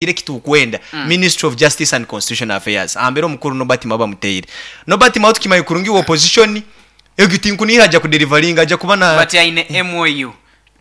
Eki titukwenda Ministry of Justice and Constitutional Affairs ahambere omukuru Norbert Mao bamuteire. Norbert Mao tukimanya kurungi wa opposition egyo tinkunihira aja kudelivaringa aja kuba na But aine MOU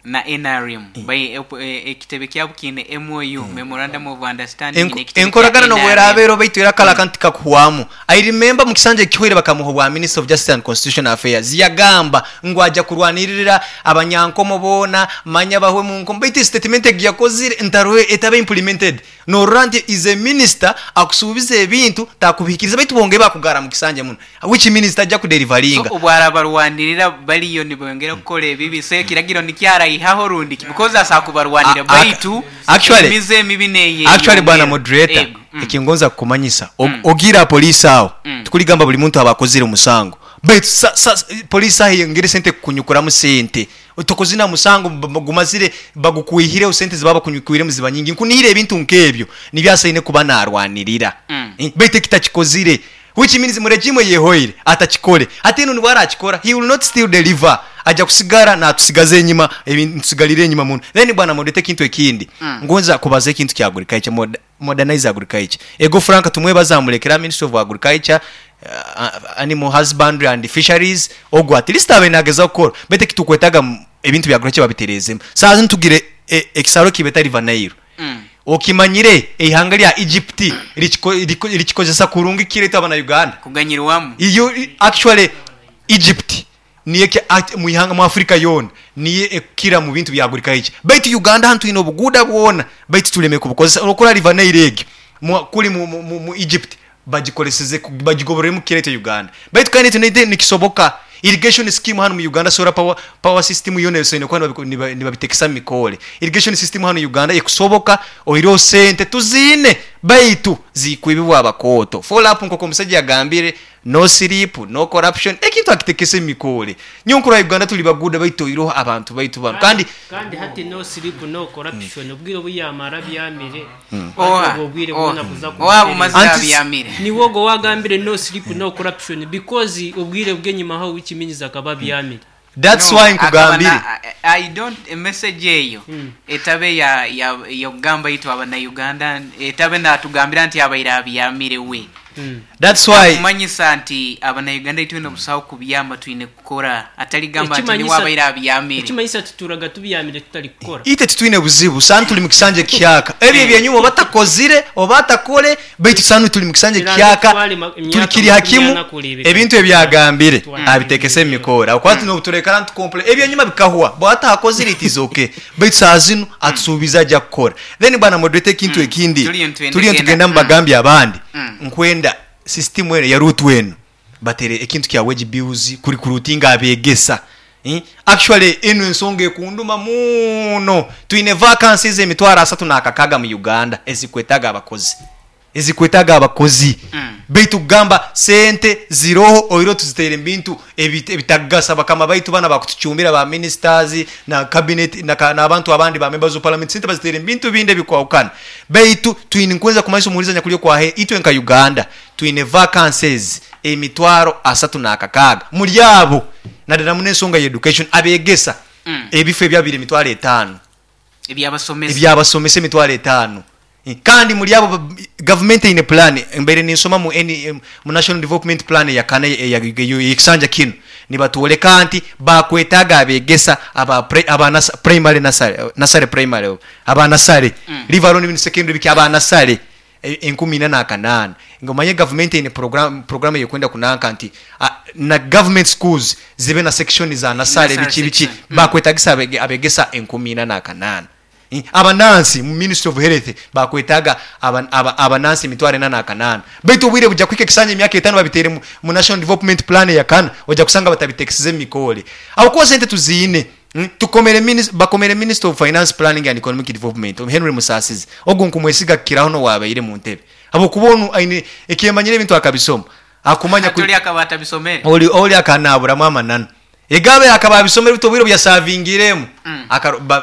na nrm by ekitebe kyabo kiine MOU, Memorandum of Understanding, nekitebe kya Enkoragana nobu nrm. eraabe eriho baitu era kare akantu tikakuhwamu. I remember mu kisanja ekihweire bakamuha obwa Minister of Justice and Constitutional Affairs yagamba ngu aja kurwanirira abanyankomo boona manya bahwe mu nkomo baitu statement egi yakozire ntaroho etabe implemented norora nti is a minister akusuubiza ebintu takubihikiriza baitu bongeye bakugara mu kisanja muno which means taja So kudelivaringa. obu arabarwanirira bariyo nibongera kukora ebibi so ekiragiro nikyo araihaho rundi ki because asobola kubarwanira baitu Actually, emize emibi actually bwana neyeyongera. moderator Ego. Mm. ekingonza kukumanyisa ogiire aha police aho tikurigamba buri muntu aba akozire omusango baitu sa sa police aho eyongere sente kukunyukuramu sente tokozire na musango gumazire bagukwihireho sente ezibaba bakunyukwiremu ziba nyingi nkunihira ebintu nkebyo nibyo asaine kuba narwanirira baitu eki takikozire which means mu regime eyehoire atakikore hati enu nibwo arakikora he will not still deliver aja kusigara natusigaza enyima nitusigarira enyima muno then bwana moderator ekintu ekindi ngonza kubaza ekintu kya agriculture Modernize agriculture. Ego Frank Tumwebaze amulekera Ministry of Agriculture, Animal Husbandry and Fisheries ogwo at least abaire nagezaho kukora beitu ekitukwetaga ebintu bya agriculture babitereezemu. Saaha zinu tugire ekisaro ekibeta River Nile. Okimanyire eihanga rya Egypt rikikozesa kurungi kukira itwe abana Uganda? Kuganyirwamu. Iyo actually Egypt Niyo eki ati mu ihanga mu Africa yoona niyo ekukira mu bintu bya agriculture. Baitu Uganda hanu twine obuguuda bwona baitu tulemire kubukozesa. Orokora River Nile egyo mu kuri mu mu mu Egypt bagikoleseze bagigobororemu kukira itwe Uganda. Baitu kandi itwe naitwe nikisoboka. Irrigation scheme hanu mu Uganda solar power power system yoona esoine kuba nibabi nibabitekesa mu mikoore. Irrigation system hanu Uganda ekusoboka oihireho sente tuziine baitu zikwibibwa abakooto. Follow up nkoku omusaija yagambire. No sleep, no corruption, ekintu akitekese mumikoore. Nyowe nkurora Uganda turi baguuda baitu oiroho abantu baitu banu kandi. Kandi hati no sleep no corruption obwire obu yamara abyamire hati Oha, obwo obwire oha, bwona kuza oha bumazire kumutereza. Anti abyamire. Niwe ogwo owagambire no sleep no corruption because obwire bwenyima ho which means akaba abyamire. That's No, why akaba nkugambire. na I don't emessage eyo etabe ya ya yokugamba itwe abanauganda etabe natugambira nti abaire abyamire we. That's why. Nakumanyisa nti abanauganda itwena obusaho kubyama twine kukora atari gamba nti niwe Ekimanyisa abaire abyamire. ekimanyisa tuturaga tubyamire tutari kukora. Itwe titwine buzibu, saanu turi mu kisanja ekihyaka. Ebyo eby'enyuma oba takozire oba atakore, baitu saanu turi mu kisanja Kiranze ekihyaka, kutwara turi emyaka kiri ha makumi kimu, ana kureebeka ebintu ngu ebi agambire twatwara abitekese omu ebintu mikoore. Ahabw'okuba hati n'obuturekara nitukomple eby'enyuma bikahwa, bwaba atakozire it is okay, baitu saaha zinu atusuubize aja kukora. Then bwana moderator ekintu ekindi, Turiyo nitwenda turiyo kugenda. nitugenda mubagambye abandi, nkwenda system enu eya route enu batere ekintu kya wage bills ku recruitinga abegesa. Actually enu ensonga ekunduma muno. Twine vacancies emitwaro asatu nakakaga mu Uganda ezikwetaga abakozi. Ezikwetaga abakozi. Baitu kugamba sente ziroho oihireho tuziteire mu bintu ebitakugasa bakama baitu banu abakutucumbira ba ministers na cabinet nabantu abandi ba members of parliament sente baziteire mu bintu bindi ebikwahukana. Baitu twine nkweza kumanyisa omuhuriza nyakuri okwahe itwe nka Uganda twine vacancies emitwaro 36 muri abo nadala muno ensonga ya education abegesa ebifo ebyabire 50,000 Ebyabasomesa. Ebyabasomesa 50,000 kandi muri abo gavumenti eine plan mbaire ninsoma mu mu national development plan eya kana eyekisanja kinu nibatworeka nti bakwetaaga abegesa aba aba primary nursery nursery primary aba nursery leave alone even secondary biki aba nursery 4800. Nga omanye gavumenti eine program eyekwenda kunanka nti na government schools zibe na section za nasale biki biki bakwetagisa abegesa 4800. Abanansi mu ministry of health bakwetaga abanansi 4800. Baitu obwire buja kuhika ekisanja emyaka etano babiteire mu national development plan eyakana oja kusanga batabitekisize mumikoore. Ahabwokuba sente tuziine. Tukomere bakomere Minister of Finance, Planning and Economic Development, Henry Musasizi, ogu nkumwesiga kukiraho n'owabaire mu ntebe ahabw'okuba onu aine ekyemanyire ebintu akabisoma akumanya Hati ori akaba atabisomere. Ori ori akanaburamu amananu. Ego abaire akaba abisomere beitu obwire obu yasavingiremu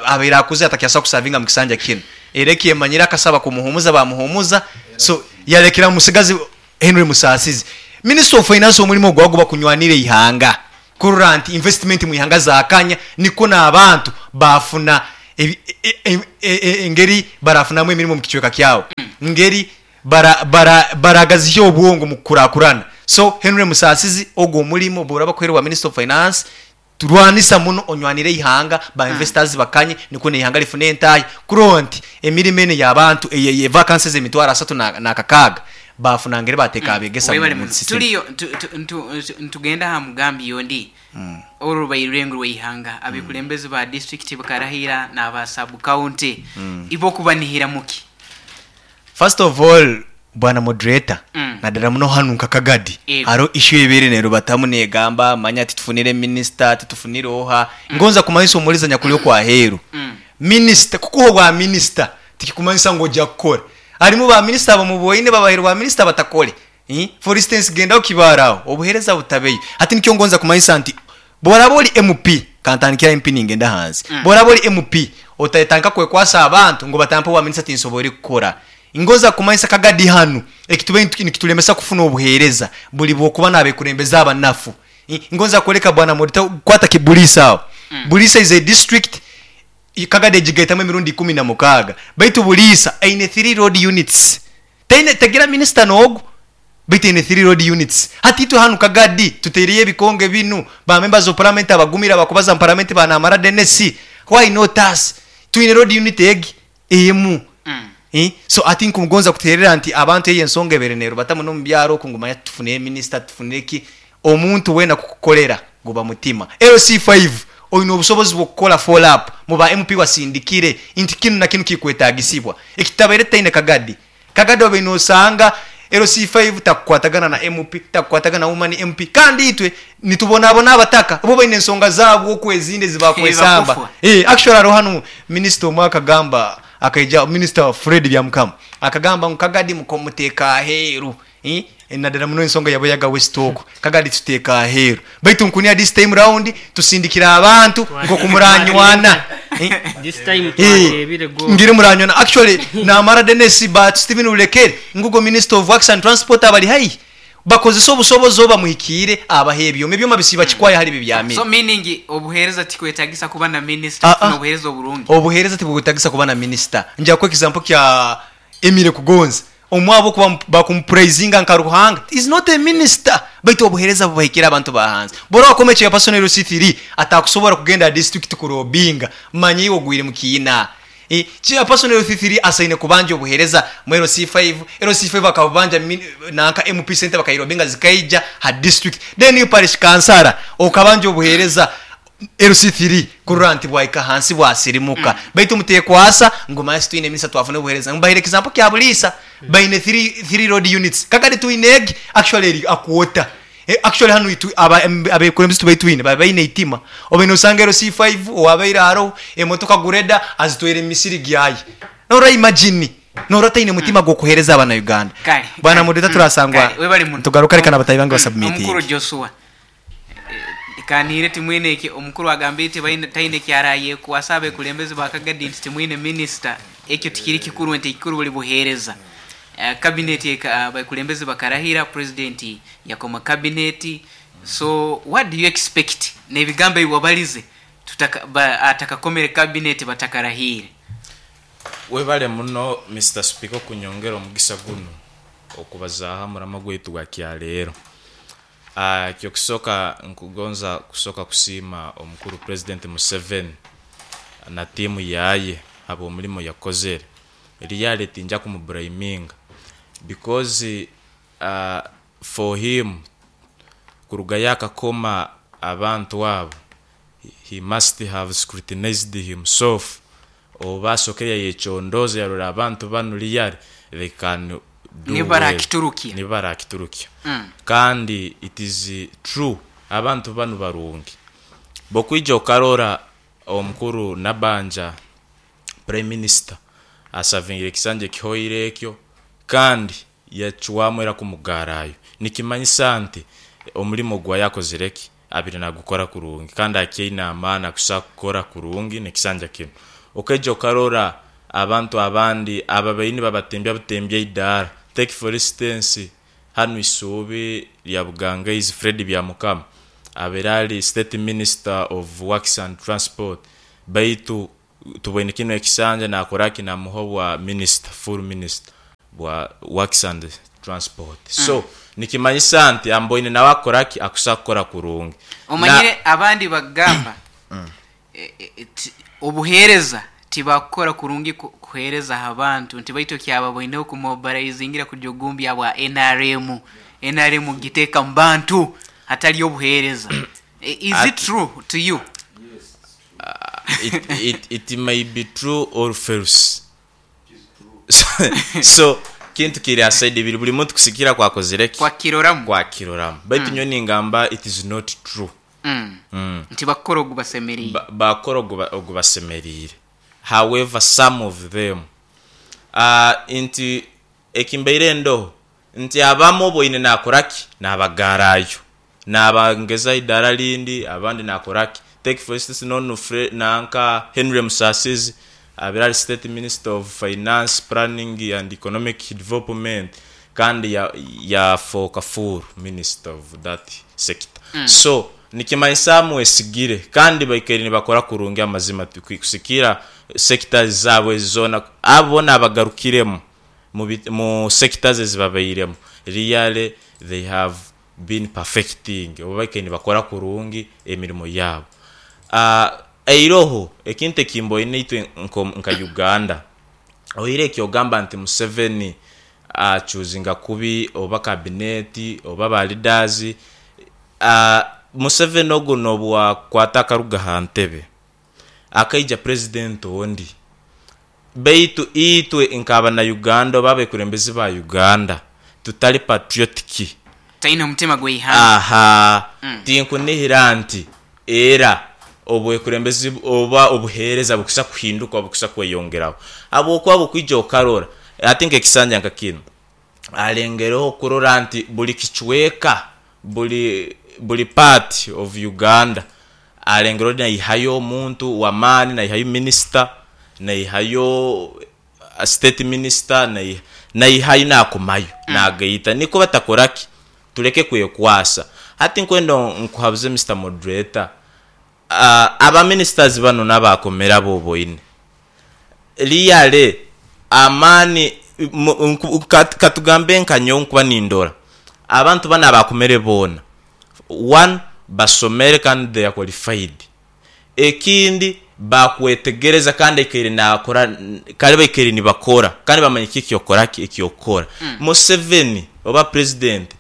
abaire akuzire atakyasobola kusavinga mu kisanja kinu. Era ekyemanyire akasaba kumuhumuza bamuhumuza so yarekera musigazi Henry Musasizi. Minister of Finance omurimo gwe guba kunywanira eihanga. Kurora nti investment mu ihanga zakanya nikwo n'abantu baafuna Ebi, e, e, e, e, engeri barafunamu emirimo omu kicweka kyawe, ngeri bara, bara, baragazihya obwongo omu kukurakurana. So, Henry Musasizi, ogwo omurimo boraba bakuhaire obwa Minister of Finance, rwanisa muno onywanire eihanga, ba investors bakanye nikwo n'eihanga rifune entaahya. Kurora nti emirimo enu ey'abantu, eye, eye vacancies emitwaro asatu na, n'akakaaga, baafuna ngeri baateeka abeegesa Webale mu muno. system. Turiyo tu, tu, ntu, ntu, nitugenda aha mugambi ondi. Oru rubaire orurengo rw'eihanga, abekulembezi ba disiturikiti bakarahira n'aba sub county. Ibo okubanihiramu ki? First of all bwana moderator Mm. nadala muno hanu nka Kagadi Yego. hariho issue ebaire nerubatamu negamba manya titufunire minister titufunire oha ngonza kumanyisa omuriza nyakuri okwaheru Mm. minister kukuha obwa minister tikikumanyisa ngu ogya kukora harimu ba minister abamuboine babahaire obwa minister batakore For instance genda aho Kibaale aho obuhereza butabeyo. Hati nikyo ngonza kumanyisa nti bworaba ori MP, kantandikire aha MP ningenda ahansi. Bworaba ori MP otatandika kwekwasa abantu ngu batampa obwa minisita tinsobore kukora. Ngonza kumanyisa Kagadi hanu ekitubaire nikitulemesa kufuna obuhereza buri bwokuba nabekurembeze abanafu. Ngonza kworeka bwana Moderator kwata ki Buliisa aho. Buliisa is a district Kagadi egigaitamu emirundi 16 baitu Buliisa eine three road units. Taine tagira minisita n'ogu baitu aine three road units. Hati itwe hanu Kagadi tutaireyo ebikonge binu, ba members of parliament abagumire abakubaza mu parliament ba Namara Denis, why not us? Twine road unit egi emu. Eh, so hati nkugonza kuterera nti abantu eyo ensonga ebaire nerubata muno omu byaro oku ngu manya titufunire minisita titufunire ki, omuntu weena kukukorera guba mutima. LC5 oine obusobozi bw'okukora follow up mu ba MP wasindikire nti kinu na kinu kikwetagisibwa. Ekitabaire tutaine Kagadi. Kagadi obaire nosanga LC5 takukwatagana na MP, takukwatagana na woman MP kandi itwe nitubonabona abataka bo baine ensonga zaabo oku ezindi ezibakwesamba. Ebakufwa. Eh, actually hariho hanu minisita omwe akagamba akaija minisita Fred Byamukama akagamba ngu Kagadi muteeka aheeru. Nadala muno ensonga ya Buyaga West okwo Kagadi tuteeka aheeru. Baitu nkunia this time round tusindikire abantu nkoku muranywana. This time twateebire goal. Ngire muranywana. Actually namara Denis ba Stephen Rulekere ngugo Minister of Works and Transport abari haihi bakozese obusobozi obu bamuhikiire abahe ebyoma. Ebyoma bisiiba kikwaya hali bibyamire. So meaning obuheereza tikwetagisa kuba na minister Ah, kufuna ah. obuheereza oburungi? Obuheereza tibukwetagisa kuba na minister. Nja kuha example kya Emile Kugonza omwe ahabw'okuba bakumupuraizinga nka Ruhanga is not a minister baitu obuhereza bubahikire abantu ba hansi. Bw'oraba wakoma chairperson LC3 atakusobora kugenda aha district kurobinga manya iwe ogwire mu kiina. Chairperson LC3 asaine kubanja obuhereza mu LC5, LC5 akabubanja nanka MP sente bakairobinga zikaija ha district then iwe parish kansara okabanja obuhereza LC3 kurora nti bwahika ahansi bwasirimuka baitu mutekwasa ngu manya titwine minisita twafuna obuhereza. Mbahaire example kya Buliisa baine three road units kakati twine egi actually eri a quarter. Actually hanu itwe abekulembeze tubaire twine baba baine eitima obaire nosanga LC5 owabaire aroho emotoka gureda azitwaire mu misiri gyaye. Norora imagine norora taine mutima gw'okuhereza abana Uganda. Kale, Bwana kale, moderator turasangwa kale, webale muno. nitugaruka reka na batahi bange Omukuru basubmitinge. Joshua. Kaniire timwine eki omukuru agambire tibaine taine eki arayekwasa abekulembezi ba Kagadi nti timwine minisita ekyo tikiri kikuru nti ekikuru buri buhereza. Cabinet abekulembezi bakarahira president yakoma cabinet so what do you expect nebigambo ebi wabalize tutaka ba atakakomere cabinet batakarahiire. Webale muno Mister Speaker okunyongera omugisa gunu okubazaaho omurama gwaitu gwa kyaleero. Eky'okusooka nkugonza kusooka kusiima omukuru Pulezidenti Museveni na tiimu yaaye habw'omulimo yakozere. Really tinja kumuburayiminga because for him kuruga yaakakoma abantu abo he must have scrutinized himself oba asookere yayecondooza yarora abantu banu really they can do Nibo well. barakiturukya. Nibo barakiturukya. Kandi it is true abantu banu barungi. Bwokwija okarora omukuru Nabanja Prime Minister asavingire ekisanja ekihoire ekyo kandi yacwamu era kumugarayo. Nikimanyisa nti omurimo gwa yakozire ki abaire nagukora kurungi kandi akyaine amaani akusobola kukora kurungi n'ekisanja kinu. Okaija okarora abantu abandi ababaire nibabatembya butembya eidaara take for instance hanu Isuubi rya Bugangaizi Fred Byamukama abaire ari State Minister of Works and Transport baitu. Tuboine kinu ekisanja nakora ki namuha obwa minisita, full minister bwa works and transport. So nikimanyisa nti amboine nawe akora ki akusa kukora kurungi. Na Omanyire abandi bakugamba obuhereza tibakukora kurungi kuhereza aha bantu nti baitu ekyababoineho kumobaraizingira kujugumbya bwa nrm, nrm kugiteeka mu bantu hatari obuhereza. Is it true to you? It, it, it may be true or false. So kintu kiri ha side ibiri buri muntu kusigikira kwakozire ki? Kwakiroramu. Kwakiroramu. Baitu nyowe ningamba it is not true. Nti bakukora ogubasemeriire. Bakora ogubasemeriire. However some of them nti ekimbaire ndoho nti abamu oboine nakora ki? Nabagarayo. Nabangeza eidaara rindi abandi nakora ki? Take for instance nonu nanka Henry Musasizi abaire ari state minister of finance, planning and economic development kandi yafooka full minister of that sector. So nikimanyisa amwesigire kandi baikaire nibakora kurungi amazima kusikira sectors zaabo ezi zoona abo boona abagarukiremu mu sectors ezi babairemu really they have been perfecting oba baikaire nibakora kurungi emirimo yaabo. Eiroho ekintu eki mboine itwe nka Uganda oire eki ogamba nti Museveni achuzinga kubi oba kabineti oba ba leaders, Museveni ogu nobwakwata akaruga aha ntebe akaija president ondi baitu itwe nk'abanauganda oba abekurembezi ba Uganda tutari patriotic. Taine omutima gw'eihanga. Aha, tinkunihira nti era obwekurembezi oba obuheereza bukusa kuhinduka oba bukusa kweyongeraho. Habwokuba bwokwija okarora hati nk'ekisanja nka kinu, alengereho kurora nti buri kicweka, buri buri part of Uganda alengereho naihayo omuntu w'amaani, naihayo minisita, naihayo state minister, naihayo nakomayo nagaita nikwo batakora ki? Tuleke kwekwasa. Hati nkwenda nkuhabuze Mister Moderator, aba ministers banu n'abakomere abu oboine, really amaani katugambe nka nyowe nkuba nindora, abantu banu abakomere boona, one basomere kandi they are qualified. Ekindi bakwetegereza kandi aikaire nakora kare baikaire nibakora kandi bamanya kiki ekyokora ki ekyokukora. Museveni oba president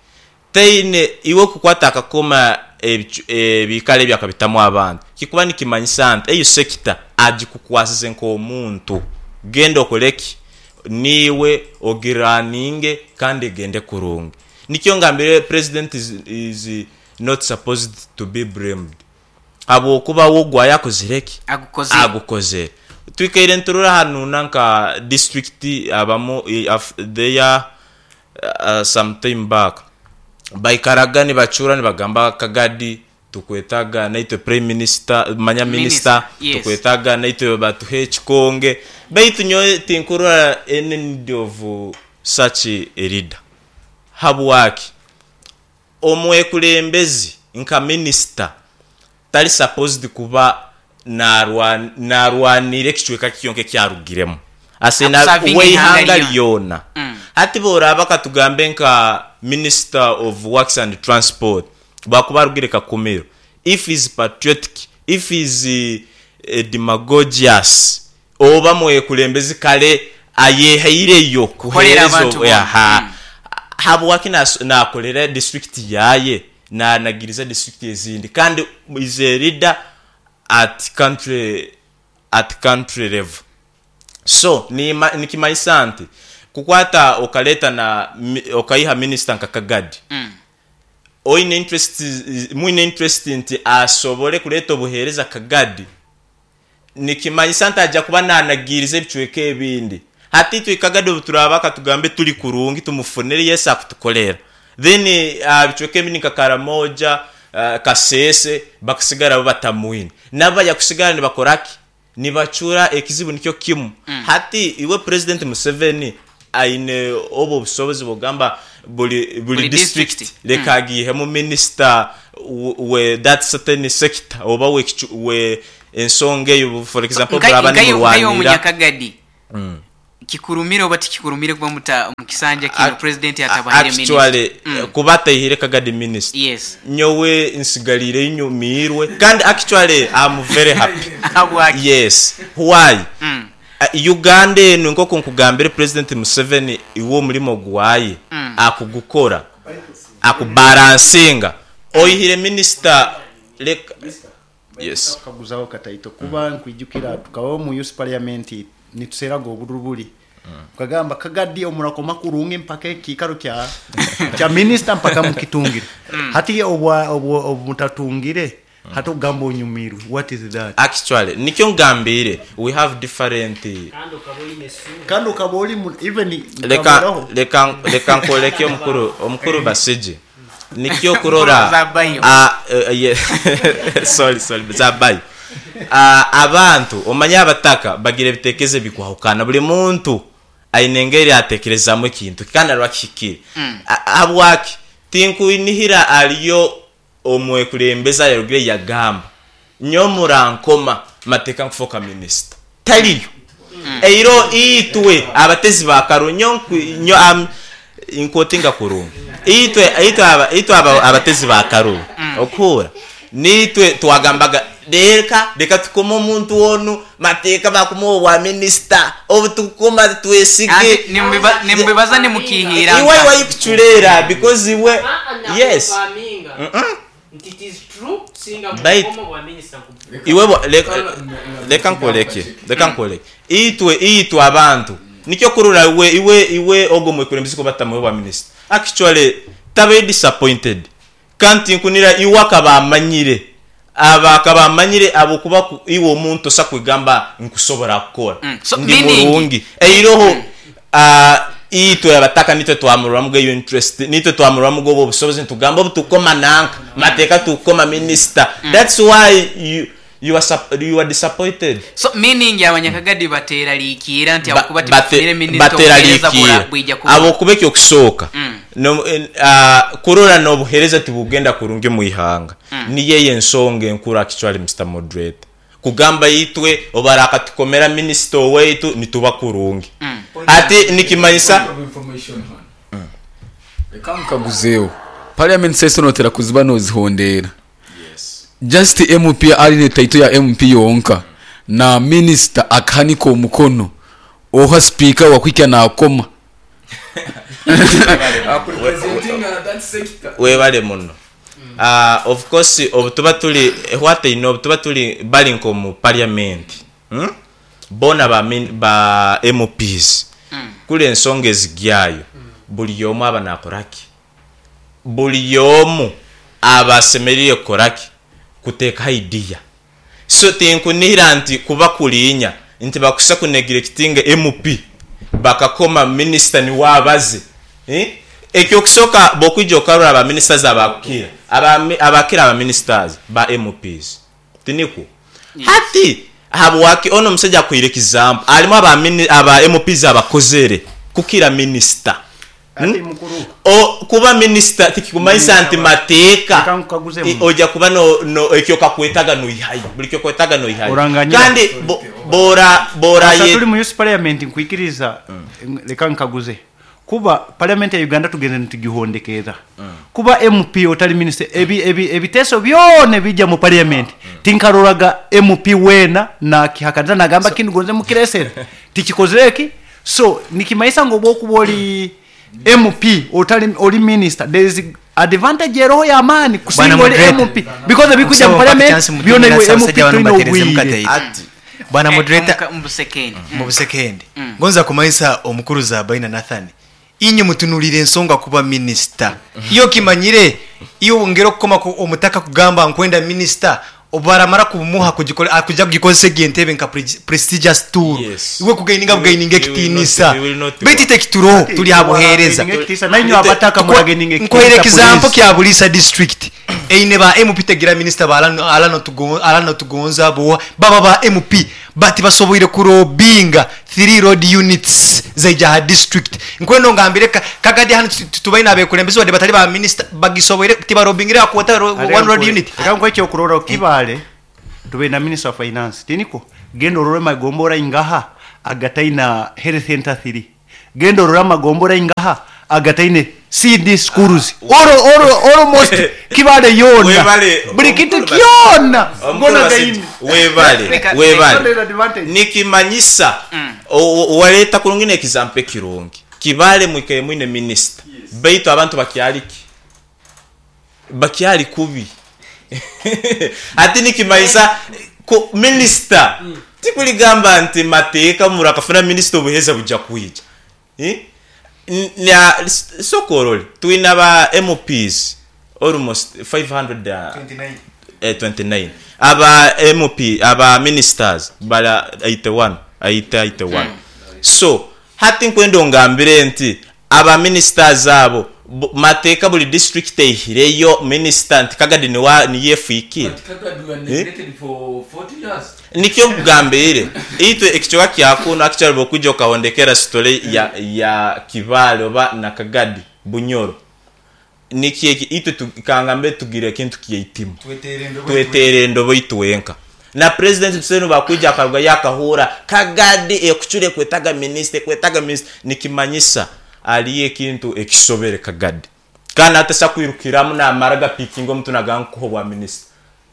taine iwe kukwata akakoma ebikaro ebyo akabitamu abantu kikuba nikimanyisa nti eyo sector agikukwasize nkomuntu genda okore ki niiwe ogiraninge kandi egende kurungi. Nikyo ngambire president is not supposed to be blamed. Habwokuba we ogwo ayakozire ki? Agukozire. Agukozire. Twikaire niturora hanu nanka district abamu there some time back baikaraga nibacura nibagamba Kagadi tukwetaga naitwe prime minister manya minister Minister, yes. tukwetaga naitwe batuhe ekikonge baitu nyowe tinkurora any need of such a leader. Habwaki? Omwekulembezi nka minisita tari supposed kuba narwanira ekicweka kyonka eki arugiremu. Asaine Akusavinga weihanga eihanga ryona. ryona. Hati bworaba katugambe nka minister of works and transport bwakuba arugire Kakumiro, if is patriotic, if is demagogious oba mwekulembezi kare ayehaireyo Kukorera kuhereza abantu boona. aha. Habwaki nakorera district yaye nanagiriza district ezindi kandi is a leader at country at country level. So nikimanyisa nti kukwata okareta na okaiha minister nka Kagadi oine interest mwine interest nti asobole kureta obuhereza Kagadi Nikimanyisa nti aja kuba naanagiiriza ebicweka ebindi. Hati itwe Kagadi obu turaaba katugambe turi kurungi tumufunire Yesu akutukorera. Then aha bicweka ebindi nka Karamoja, Kasese bakasigara bo batamwine. Nabo baija kusigara nibakora ki? Nibacura ekizibu nikyo kimu. Hati iwe President Museveni aine obwo obusobozi bw'okugamba buri Buri district district. reka agiihemu minister we that certain sector oba we. ensonga eyo for example Nka- muraba nkayo nkayo nimurwanira omunyakagadi kikurumire oba tikikurumire kuba muta mu kisanja kino president atabahire actually minister. kuba ataihire kagadi minister Yes. nyowe nsigalire nyumiirwe kandi actually I'm very happy. Habwaki? Yes. Why? Uganda enu nkoku nkugambire President Museveni iwe omurimo gwaye akugukora akubalansinga oihire minister leka yes. Kaguzaho kataito kuba nkwijukira tukabaho mu youth parliament nituseraga oburuburi ukagamba kagadi omurakoma kurungi mpaka ekikaro kya kya minister mpaka mukitungire hati obwa obwo obutatungire hati ogamba onyumirwe, what is that? Actually nikyo ngambire we have different Kandi okaba oine essuubi. Kandi okaba ori mu- even leka nkaboraho. leka leka nkoleke omukuru omukuru basije nikyo kurora Zabayo. Sorry sorry zabayo. Abantu omanye abataka bagira ebitekerezo bikwahukana, buri muntu aine engeri atekerezamu ekintu kandi arwakihikire. Habwaki tinkwinihira ariyo omwekulembeza yarugire yagamba nyo murankoma mateka nkufoka minister taliyo eiro itwe abatezi ba karo nyo nyo inkotinga kurungi itwe itwe aba itwe aba abatezi ba karo okura nitwe twagambaga reka reka tukoma omuntu onu mateka bakumuwa wa minister obu tukoma twesige. Ati, nimbibaza nimukihira. Iwe wayikuchulera because iwe yes. Nti it is true singa Bait. mukomo bwa minister Iwe leka leka nkoleke leka nkoleke itwe itwe abantu nikyo kurura iwe iwe iwe ogo mwekulembezi ko batamuwe bwa minister actually tabe disappointed kanti nkunira iwe akabamanyire aba akabamanyire abo kuba iwe omuntu osa kwigamba nkusobora kukora. So, ndi meaning- murungi eiroho itwe abataka nitwe twamurwamu iyo interest nitwe twamurwamu ubwo obusobozi ntugamba obutukoma nanka mateka tukoma minister. That's why you are disappointed. So meaning abanyakagadi bateraliikira nti abakuba tibafunire minister obuheereza bateraliikira bwija kuba abo kuba ekyokusooka kurora n'obuheereza tibugenda kurungi mu ihanga niyo eyo ensonga enkuru actually Mr. Moderator kugamba itwe obaraka tukomera minister owaitu nituba kurungi ati nikimanyisa Reka nkaguzeho parliament session otera kuziba nozihondera just MP ari ne title ya MP yonka na minister akahanika omukono oha speaker wakwikya nakoma. Webale muno. Of course obu tuba tuli what I know obu tuba tuli bali nko mu parliament, Bona ba ba MPs kule ensonga ezigyayo buli omu aba nakoraki buli omu aba asemerire kukoraki kuteeka idea so tinkunihira nti kuba kulinya nti bakusa kuneglectinga MP bakakoma minister ni wabaze Ekyokusooka bw'okwija okarora aba ministers abakira abakira aba ministers ba MPs tinikwo hati habwaki ono omusajja akwire example alimu aba MPs abakozere kukira minister. Ati mukuru. O kuba minister tikikumanyisa nti mateeka Reka nkukaguze mu. Ojja kuba no no ekyo kakwetaga noihayo buli kyo kwetaga noihayo Oranganyira. kandi bora bora Asa ye tuli mu youth parliament nkwikiriza leka nkaguze kuba parliament ya Uganda tugende nitugihondekeza kuba MP otali minister ebi ebi ebiteso byone bijja mu parliament tinkaroraga MP wena na kihakaniza nagamba kindu gonze mukiresera tikikozeki so nikimaisa ngo bokuba oli MP otali oli minister there is advantage eroho ya maani kusinga Bwana oli moderator. MP because ebikuja mu Okusaba parliament chance byone mutumira iwe MP abasajja bano tulina mbatereze obwire. mukatayi. Ati. Bwana moderator, Mu busekendi. mu busekendi ngonza kumanyisa omukuru Zabaina Nathan inye mutunulire ensonga kuba minister iyo kimanyire iyo ngero kukoma ku omutaka kugamba nkwenda minister obaramara kumuha kugikora akuja kugikozesa entebe nka prestigious tool. Yes. Iwe kugaininga We bugaininga will ekitinisa. not- we will not Beti work. tekituro tuli abuhereza. Ekitiisa, nainyu abataka murageninga ekitiisa, Nkohere example police. kya Bulisa district eine ba MP tegira minister ba alano alano tugonza alano tugonza bo baba ba MP bati basoboire kurobinga 3 road units zaija district nkwendo ngambire kagadi hano tubaina abekulembezi wadde batali ba minister bagisoboire tibarobingira akwata Ate one road unit. Reka nkuhe ekyokurora kibale Tubaire na Minister wa Finance, tinikwo? Genda orore amagombora aingaha agataina health center thiri. Genda orore amagombora aingaha agataine CD schools. All, all, almost Kibale yoona. Webale, Buri kintu omukuru kyona Omukuru gona Basingye, gaine. webale, Reka- webale. Gona advantage. Nikimanyisa o- waleeta kurungi n'example ekirungi. Kibale mwikaire mwine minisita, baitu abantu bakyali ki? Bakyali kubi. Ati nikimanyisa ku minisita tikuligamba nti mateeka murakafuna minisita obuheeza bujja kwija. Eh? Sokorole twina ba MPs almost 529, aba MP, aba ministers bala 81, 81. So hati nkwenda ongambire nti aba ministers abo mateeka buli district eihireyo minister nti Kagadi niwa niyefiikire. Nikyo nkugambire, itwe ekicweka kyakuno actually bwokwija okahondekera story ya Kibale oba na Kagadi Bunyoro, nikyo eki itwe kangambe tugire ekintu kyeitima, twetere endobo itwenka. Na President Museveni bakwija akaruga yakahura Kagadi ekucure kwetaga minisita, kwetaga minisita, nikimanyisa aliyo ekintu ekisobere Kagadi, kandi atasa kwirukiramu namara gapikinga omuntu nagankuha obwa minisita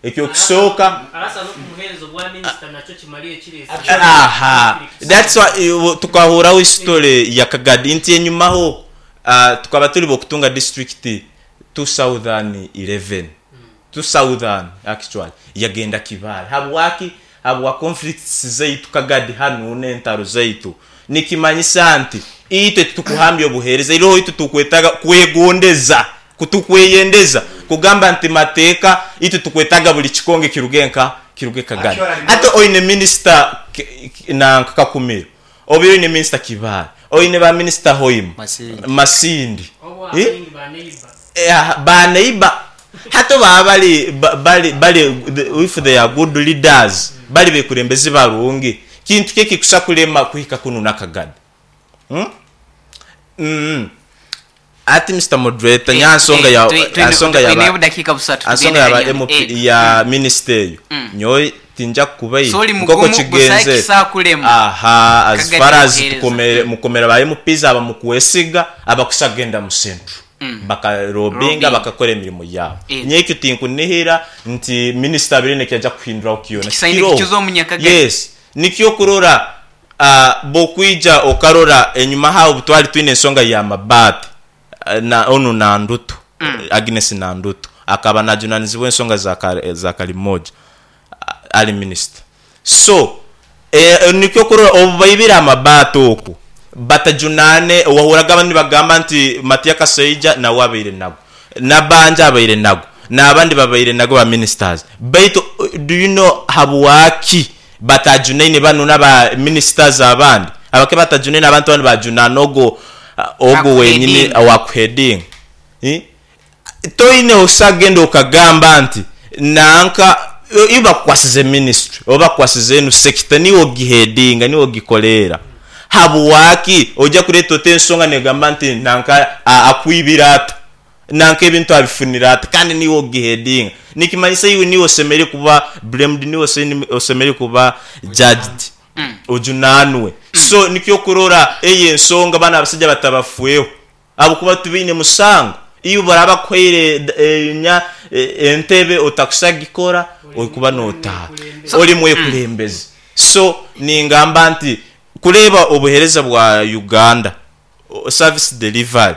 ekyo kusooka. Arasa n'okumuheereza obwa minisita nakyo kimariyo kirese. Aha, that's why tukahuraho history ya Kagadi nti enyumaho tukaba turi bokutunga district 2011, 2000 actually yagenda Kibale. Habwaki? Habwa conflicts zaitu Kagadi hanu n'entaro zaitu. Nikimanyisa nti itwe tukuhambya obuheereza iroho, itwe tukwetaga kwegondeza, kutukweyendeza kugamba nti mateeka itwe tukwetaga buli kikonge kiruge nka kiruge Kagadi. Ate oine minisita na Kakumiro, oba oine minisita Kibale, oine ba minisita Hoima. Masindi. Masindi. Obo Eh? abaingi baneiba. Baneiba hato baba bali if they are good leaders, bali bekurembezi barungi, kintu keki kusa kulema kuhika kunu nakagadi, Ati Mr Moderator, nyansonga ya ansonga ya Twine obudakiika busatu. Ansonga Tugende ya ba hanyuma. MP ya minister eyo nyowe tinja kubayi. So oli Nkoko mugumu, busayi kigenze kisakulema. Aha, as Kagadi far as obuheereza. tukomere mukomera ba MPs aba mukwesiga abakusagenda mu central bakarobinga, Lobbying. bakakora emirimo yabo. Nyekyo tinkunihira nti minisita abirine kyajja kuhinduraho kyona. Kisaine Kiroho. kikiza omunyakagadi. Yes, nikyo kurora bokwija okarora enyuma hawo butwali twine ensonga ya mabaati, na onu Nandutu, Agnes Nandutu akaba najunanizibwa ensonga za Kalimoja, ali minisita. So nikyo kurora obu baibire amabaati oku batajunane, wahuraga abandi bagamba nti Matia Kasaija nawe abaire nago, Nabanja abaire nago, n'abandi babaire nago ba ministers. Baitu do you know habwaki batajunaine bano n'aba ministers abandi abake batajunaine abantu abandi bajunana ogo wenyini Akuheading. Wakuheading, eh? Toine osagenda okagamba nti nanka iyo bakukwasize ministry oba bakukwasize enu sector, niwe ogiheadinga, niwe ogikolera, habwaki ojja kuleeta ota ensonga negamba nti nanka akwibira ata, nanka ebintu abifunira ata, kandi niwe ogiheadinga? Nikimanyisa iwe niwe osemere kuba blamed, niwe osemere kuba judged, ojunanwe. So nikyo kurora eyo ensonga bana abasajja batabafweho abo kuba tubaine musango. Iyo baraba kuhaire nya entebe otakusagikora, okuba notaha oli mwekulembezi. So ningamba nti kureeba obuheereza bwa Uganda, service delivery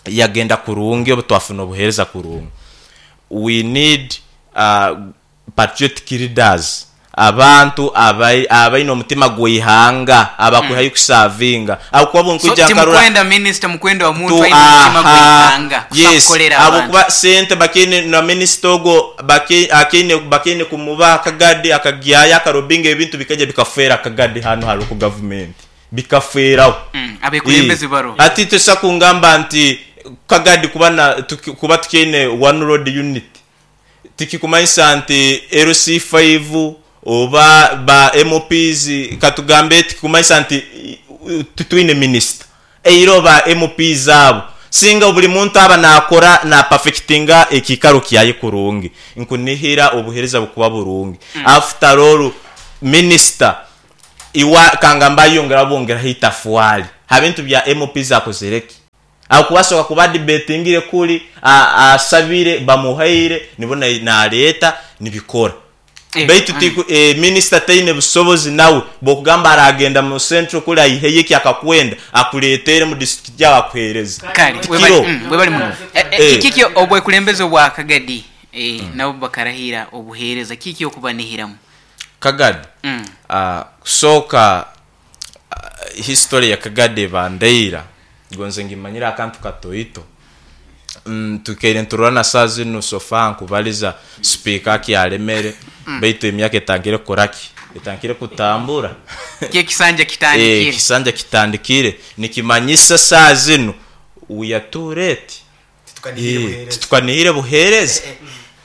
yagenda kurungi obu twafuna obuheereza kurungi. We need patriotic leaders, abantu abaine omutima gw'eihanga, abakwihayo kusavinga abakuba So bunkwija nkarora timukwenda minisita, mukwenda omuntu aine omutima gw'eihanga yes kusakukolera abantu. Abokuba sente bakine na minisita ogwo bakine kumuba akagadi akagyayo akarobinga ebintu bikajya bikafeera akagadi hano hari ku gavumenti bikafeeraho. Abekulembezi baro. Ati tusa kungamba nti Kagadi kuba na kuba tukiine one road unit tikikumanyisa nti LC5 oba ba MPs katugambe, tikikumanyisa nti tutwine minisita eiro ba MPs abo. Singa buli muntu aba nakora na perfectinga ekikaro kyaye kurungi, nkunihira obuhereza bukuba burungi. After all minister iwe kangamba ayongera bongeraho itafwali ha bintu bya MPs akozereki? Ahakuba asobola kuba adebatingire kuri, asabire, bamuhaire, nibwo naleeta nibikora. Baitu minisita taine busobozi nawe bw'okugamba aragenda mu Central kuri aiheyo eki akakwenda akuleetere mu disiturikiti yaawe akuheereze. Kale Tikiro. webale muno. Kiki obwekulembeze obwa Kagadi nabo bakarahira obuheereza, kiki okubanihiramu? Kagadi, kusooka history ya Kagadi eba ndaira, gonze ngimanyire akantu katoito. Twikaire niturora na saaha zinu so far nkubaliza sipiika akyalemere baitu emyaka etandikire kukora ki? Etandikire kutambura. Ekisanja kitandikire. Ekisanja kitandikire nikimanyisa saaha zinu we are too late. Titukanihire buheereza.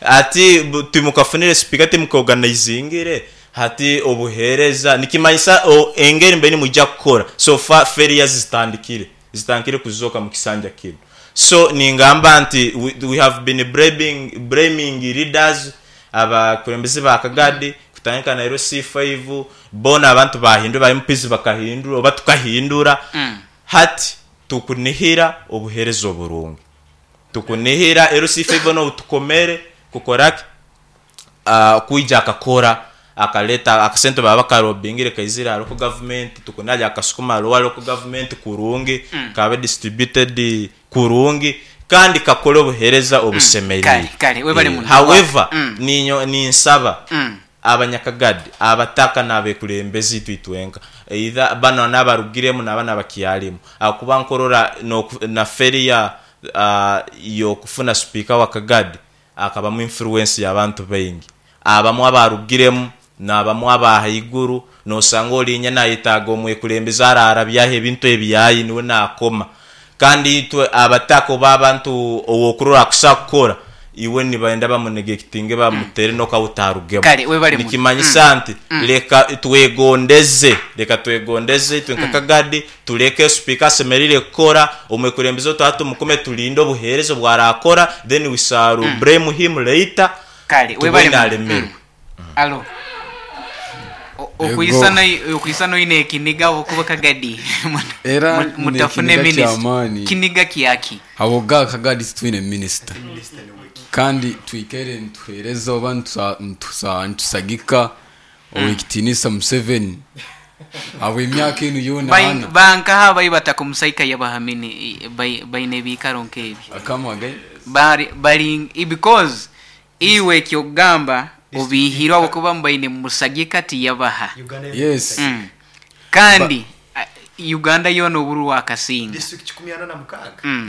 Hati timukafunire sipiika timukaoganizingire hati obuheereza nikimanyisa engeri mbaire nimwija kukora so far failures zitandikire. Zitandikire kuzooka mu kisanja kinu. So ningamba nti we have been blaming leaders, abakulembeze ba Kagadi kutandika na LC5, boona abantu bahindura, ba MPs bakahindura oba tukahindura. Hati tukunihira obuhereza oburungi. Tukunihira LC5 onu outukomere kukora ki? Kwija akakora akaleta akasente baba bakarobingire kaizire aha local government tukunarya akasukuma lower local government kurungi kabe distributed kurungi kandi kakore obuhereza obusemerire. Kale, kale, webale muno. However, ninyo ninsaba abanyakagadi, abataka n'abekulembeze itwe itwenka either banu n'abarugiremu nabanu abakyarimu ahakuba nkorora na failure y'okufuna sipiika wa kagadi Akabamu influence y'abantu baingi. Abamu abaarugiremu, n'abamu aba haiguru. Noosanga oriinya naayetaaga omwekulembeze araarabyaho ebintu ebyaye niwe naakoma. Kandi itwe abataka oba abantu ow'okurora akusa kukora, iwe nibenda bamunegekitinge bamuteere n'oku otaarugemu. Kale webale muno. Nikimanyisa nti leka twegondeze, leka twegondeze itwe nka Kagadi Tureke sipiika asemereire kukora, omwekulembeze otu tumukume tulinde obuheereza obu araakora then we shall blame him later Kale webale tubwine muno. alemerwe. Alo. Ego. Okwisana oine ekiniga ahabw'okuba Kagadi Era nyine mutafune ekiniga minisita. ky'amaani. Kiniga kyaki? Habw'okuba Kagadi titwine minisita kandi twikaire nituheereza oba nitusagika Ow'ekitiinisa Museveni habw'emyaka enu yoona ana. Bankaha abai batakamusaika yabahamini baine ebiikaro nk'ebyo? Come again? Bari bari because iwe eky'okugamba obiihirwe ahabw'okuba mubaine mumusagika tiyabaha. Yes. Kandi Uganda yoona obururu akasinga.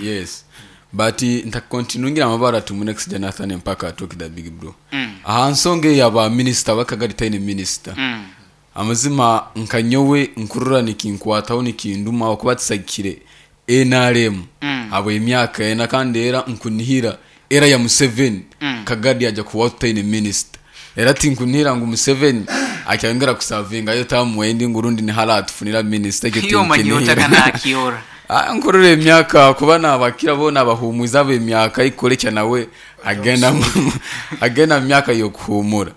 Yes. But ntakontinwingire amabara tumune kusija Nathan mpaka atoke the big bro. Aha nsonga eya ba minister bakagari taine minister. Amazima nka nyowe nkurora nikinkwataho nikinduma ahakuba tusagikire NRM habwemyaka ena kandi era nkunihira era ya Museveni Kagadi aja kuba tutaine minister. Era tinkunihira ngu Museveni akyayongera kusavingayo term endi ngu rundi niho aratufunira minister ekyo Iwe omanyire tinkinihira. otakanakiora. Nkurora emyaka kuba nabakira boona abahumwize ab'emyaka ikurekya nawe agenda agenda mu myaka y'okuhumura.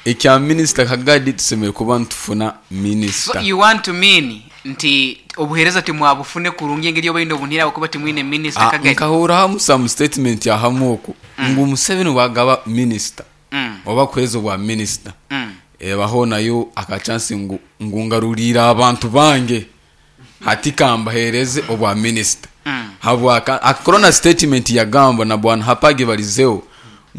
Ekya minisita Kagadi tusemeriire kuba nitufuna So minisita. you want to mean nti obuhereza timwabufune kurungi engeri obaine obunhira ahabwokuba timwine minisita Kagadi? Nkahurraho some statement ahamu oku ngu Museveni bwagaba minisita oba kuheereza obwa minisita ebaho nayo aka chance ngu ngu ngaruriire abantu bange. Hati kambahereze obwa minisita. Habwaka akakora na statement yagamba na bwana Hapagi barizeho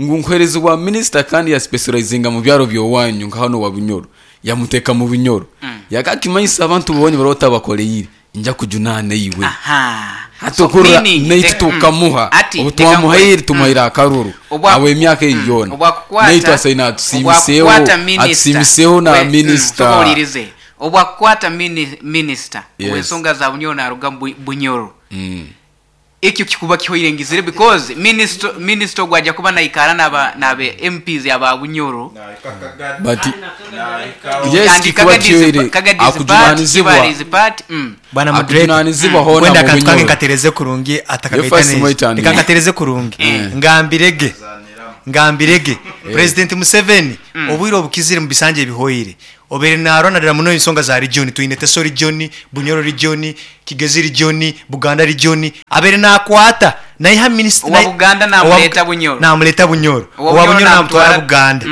ngu nkuhereze obwa minisita kandi ya specializinga mu byaro byowanyu nka hano wa Bunyoro yamuteka mu Bunyoro yakakimanyisa abantu bonye bari otabakoreire nja kujunana iwe. Aha. Hati So okurora meaning, naitwe tukamuha ati, obu reka twamuhaire nkore. tumuhaire akaruru Obwa- habw'emyaka eyi yoona Obwakukwata- naitwe asaine atusiimiseho obwakukwata minister. atusiimiseho na minisita. Soka ohuriirize. Obwakukwata minisita Yes. ow'ensonga za Bunyoro naaruga Bunyoro. Ekyo kikuba kihoire ngizire because minister minister ogwo aja kuba naikara naba nabe MPs aba Bunyoro. But yes And kikuba Kagadi's kihoire Kagadi's part, akujunanizibwa Kibali's part. Bwana moderator. akujunanizibwa hoona Wenda mu akantu kange Bunyoro. nkatereze kurungi atakagaita Yo first neza. mwitandire. Reka nkatereze kurungi. Ngambirege. Ngambirege. President Museveni obwire obukizire mu bisanja ebihoire. Obere narwanarira muno ensonga za region twine Teso region, Bunyoro region, Kigezi region, Buganda region. Abere nakwata naiha minister Owa Buganda namuleta Bunyoro. Namuleta Bunyoro. Owa Owa Bunyoro Bunyoro namutwara namutwara Buganda.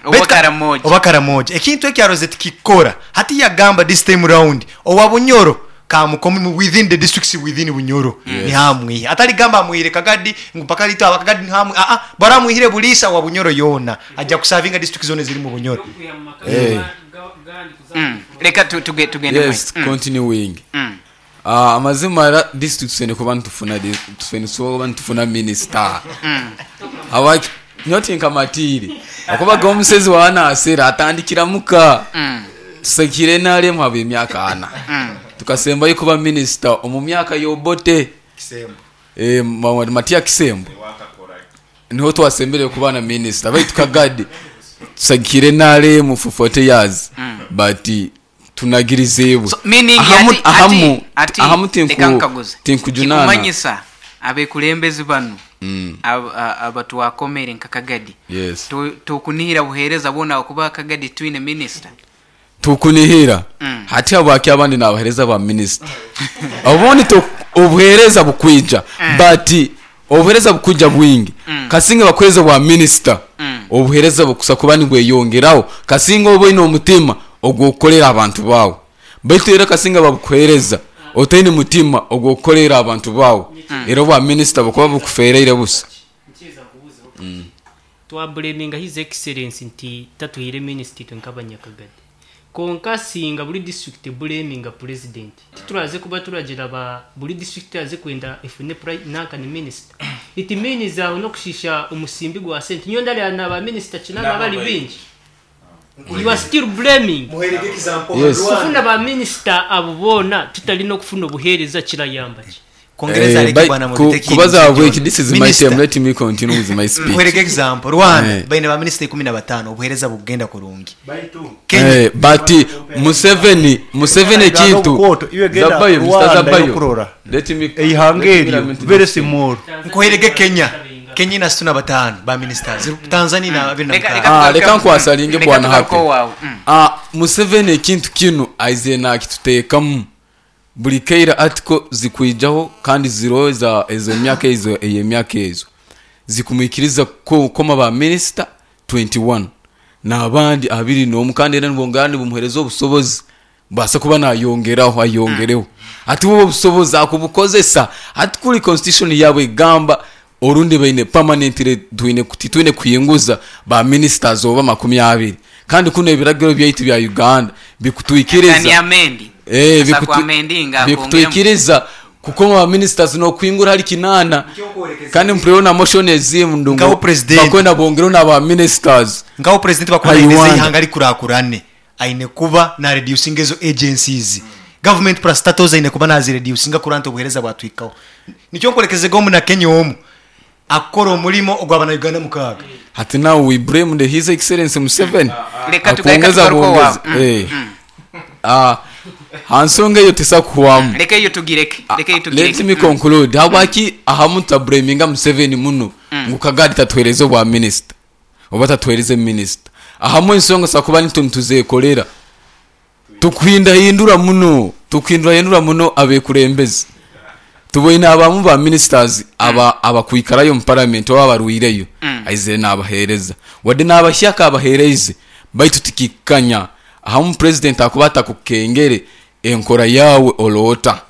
Owa Baitu Karamoja. Oba Karamoja. Ekintu ekyaroze tikikora. Hati yagamba this time round owa Bunyoro kamukomi within the districts within Bunyoro. Yes. Nihamwihe. Atali gamba amwihire Kagadi ngu paka lito aba Kagadi nihamwe. Ah ah baramwihire Bulisa wa Bunyoro yona. Ajja kusavinga district zone ziri mu Bunyoro. Leka tugende Yes, mwe. continuing. Amazima era district twine kuba nitufuna twine kuba nitufuna minister. Awaki nyoti nkamatire. Akubaga omusezi wa nasera atandikira muka. Tusekire nalemu haba emyaka ana. Tukasembayo kuba minister omu myaka y'Obote. Kisembo. Matia Kisembo. Niho twasembere kuba na minister. Baitu Kagadi tusakire nalemu for 40 years. But tunagirizebwe. So, meaning Ahamu ati, ahamu ati, ati, ahamu leka nkaguze. tinkujunana. Kikumanyisa abekulembezi banu abatwakomere nka Kagadi. Yes. Tukunihira buhereza bona okuba Kagadi twine minister. Tukunihira. Hati habwaki abandi nabahereza ba minister. Obundi obuhereza bukwija but obuhereza bukwija bwingi. Kasinga bakweza bwa minister. Obuhereza bukusa kuba nibweyongeraho. Kasinga oba oine omutima ogwokukorera abantu bawe. Baitu era kasinga babukuhereza otaine mutima ogwokukorera abantu bawe. Era obwa minister bukuba bukufereire busa. Twablaminga His Excellency nti tatuhire minister itwe nk'abanyakagadi. Konka singa buri district blaminga president. Tituraze kuba turagira ba buri district aze kwenda efune nanka ni minister. It means aho no kushisha umusimbi gwa sente. Nyo ndali na ba minister kinana bali bingi. You are still blaming. Yes. Kufuna ba minister abo bona tutali no kufuna obuhereza kirayamba ki. Kongereza aleke bwana Mubiteki. Kubaza wiki, this is my Minister. time, let me continue with my speech. Nkwereke example Rwanda baine ba minister 15 obuhereza bugenda kurungi. Kenya But Museveni ekintu Obukoto, iwe genda Zabayo, Mr. Rwanda Zabayo. yokurora. Let me Eihanga let me eryo lament very this. small. Nkuherege Kenya. Kenya ina 65 ba ministers. Tanzania ina 26. Leka nkwasalinge Leka bwana tugaruke hape. owawe. Museveni ekintu kinu aize nakituteekamu. Buli keira article zikwijaho kandi ziroza ezo myaka ezo eyo myaka ezo. Zikumwikiriza koma ba minister 21 n'abandi abiri n'omu kandi era nibongera nibumuhereza obusobozi basa kuba nayongeraho ayongereho. Ati bo obusobozi akubukozesa ati kuri constitution yabwe egamba orundi baine permanently twine titwine kuyinguza ba ministers oba 20 kandi kuno ebiragiro byaitu bya Uganda bikutwikiriza Ni amendi. Asa kwa amendi nga bikutwikiriza kuko ba ministers no kwingura hari kinana kandi mpreona motion ezimu ndungo Ngaho president. bakwenda bongero na ba ministers Ngaho president bakora Ayiwanda. ineze ihanga likurakurane aine kuba na reducing ezo agencies. Government parastatals aine kuba nazi reducinga kuranta obuhereza bwatwikaho. Nicyo nkorekeze gomu na Kenya omu akora omulimo ogwabana Uganda mukaga. Hati now we blame the His Excellency Museveni. Leka Akuongeza tugaruke owawe. buongeza. Hansonga eyo tesakuhwamu. Leka eyo tugireke. Leka eyo tugireke. Let me conclude. Habwaki ahamu tablaminga Museveni muno ngu Kagadi tatuhereze obwa minister oba tatuhereze minister. Ahamu ensonga sakuba nitu nituzekolera. Tukuhindahindura muno, tukuhindurahindura muno abekurembezi. Tuboine abamu ba ministers abakwikarayo mu parliament oba abarwireyo. Aizire n'abahereza. Wadde n'abashyaka abahereze baitu tikikanya. Ahamu president akuba atakukengere enkora yawe olota.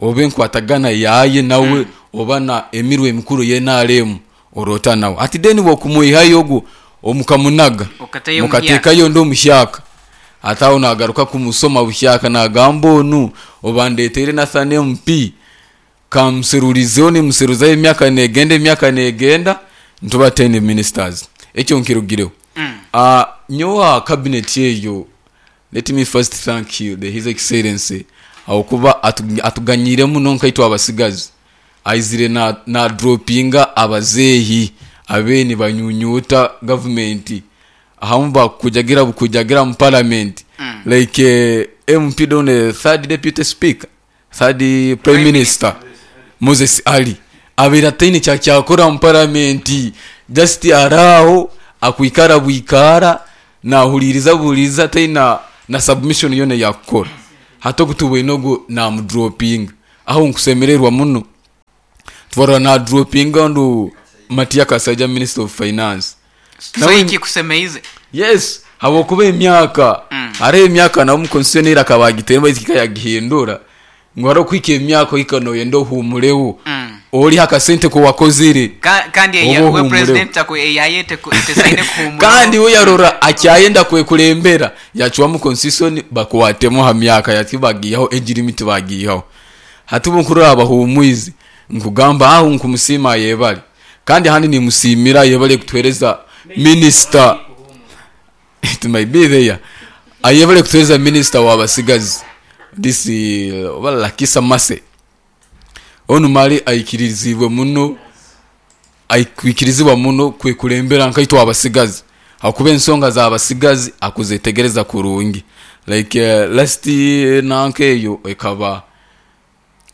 Oba enkwatagana yaye nawe oba na emirwe emikuru ye NRM orota nawe. Ati deni bwokumuihayo ogwo omukamunaga. Okatayo Mukatekayo ndo omushyaka. Ataho nagaruka kumusoma bushyaka nagamba onu obandetere Nathan MP kamuserurizeho nimuseruzayo emyaka negenda emyaka negenda ntuba 10 ministers. Ekyo nkirugireho. Nyowa cabinet eyo let me first thank you the His Excellency awokuba atuganyire muno nkaitwe abasigazi. Aizire na nadropinga abazeehi abe nibanyunyuuta gavumenti ahamu bakujagira bukujagira mu parliament like MP don third deputy speaker, third prime minister Moses Ali abaire ataine kyakyakora mu parliament just ari aho akwikara bwikara nahuririza buhuririza ataine na submission yoona eyakukora. Hati ogu tubwine ogu namudropinga. Aho nkusemererwa muno. Twarora na dropinga ndu Matia Kasaija Minister of Finance. So Nawe ekikusemeize. Yes, habwokuba emyaka hariho emyaka nawe omu constitution eira akaba agiteire baitu hika yagihindura ngu hariho kuhika emyaka ohika noyenda ohumureho orihe akasente kuwakozire Kandi oba eya we ohumureho. president aku eyaye tesaine kuhumuraho. Kandi we yarora akyayenda kwekurembera yacwamu constitution bakwatemu aha myaka yati bagiihaho age limit bagiihaho. Hati obu nkurora abahumwize nkugamba aho nkumusiima ayebare kandi ahandi nimusiimira ayebare kutuhereza minister it might be there ayebare kutuhereza minister wa basigazi this oba Lakisa Mercy onu mali aikirizibwe muno aikwikirizibwa muno kwekurembera nkaitwe abasigazi ahakuba ensonga za basigazi akuzetegereza kurungi like last nanka eyo ekaba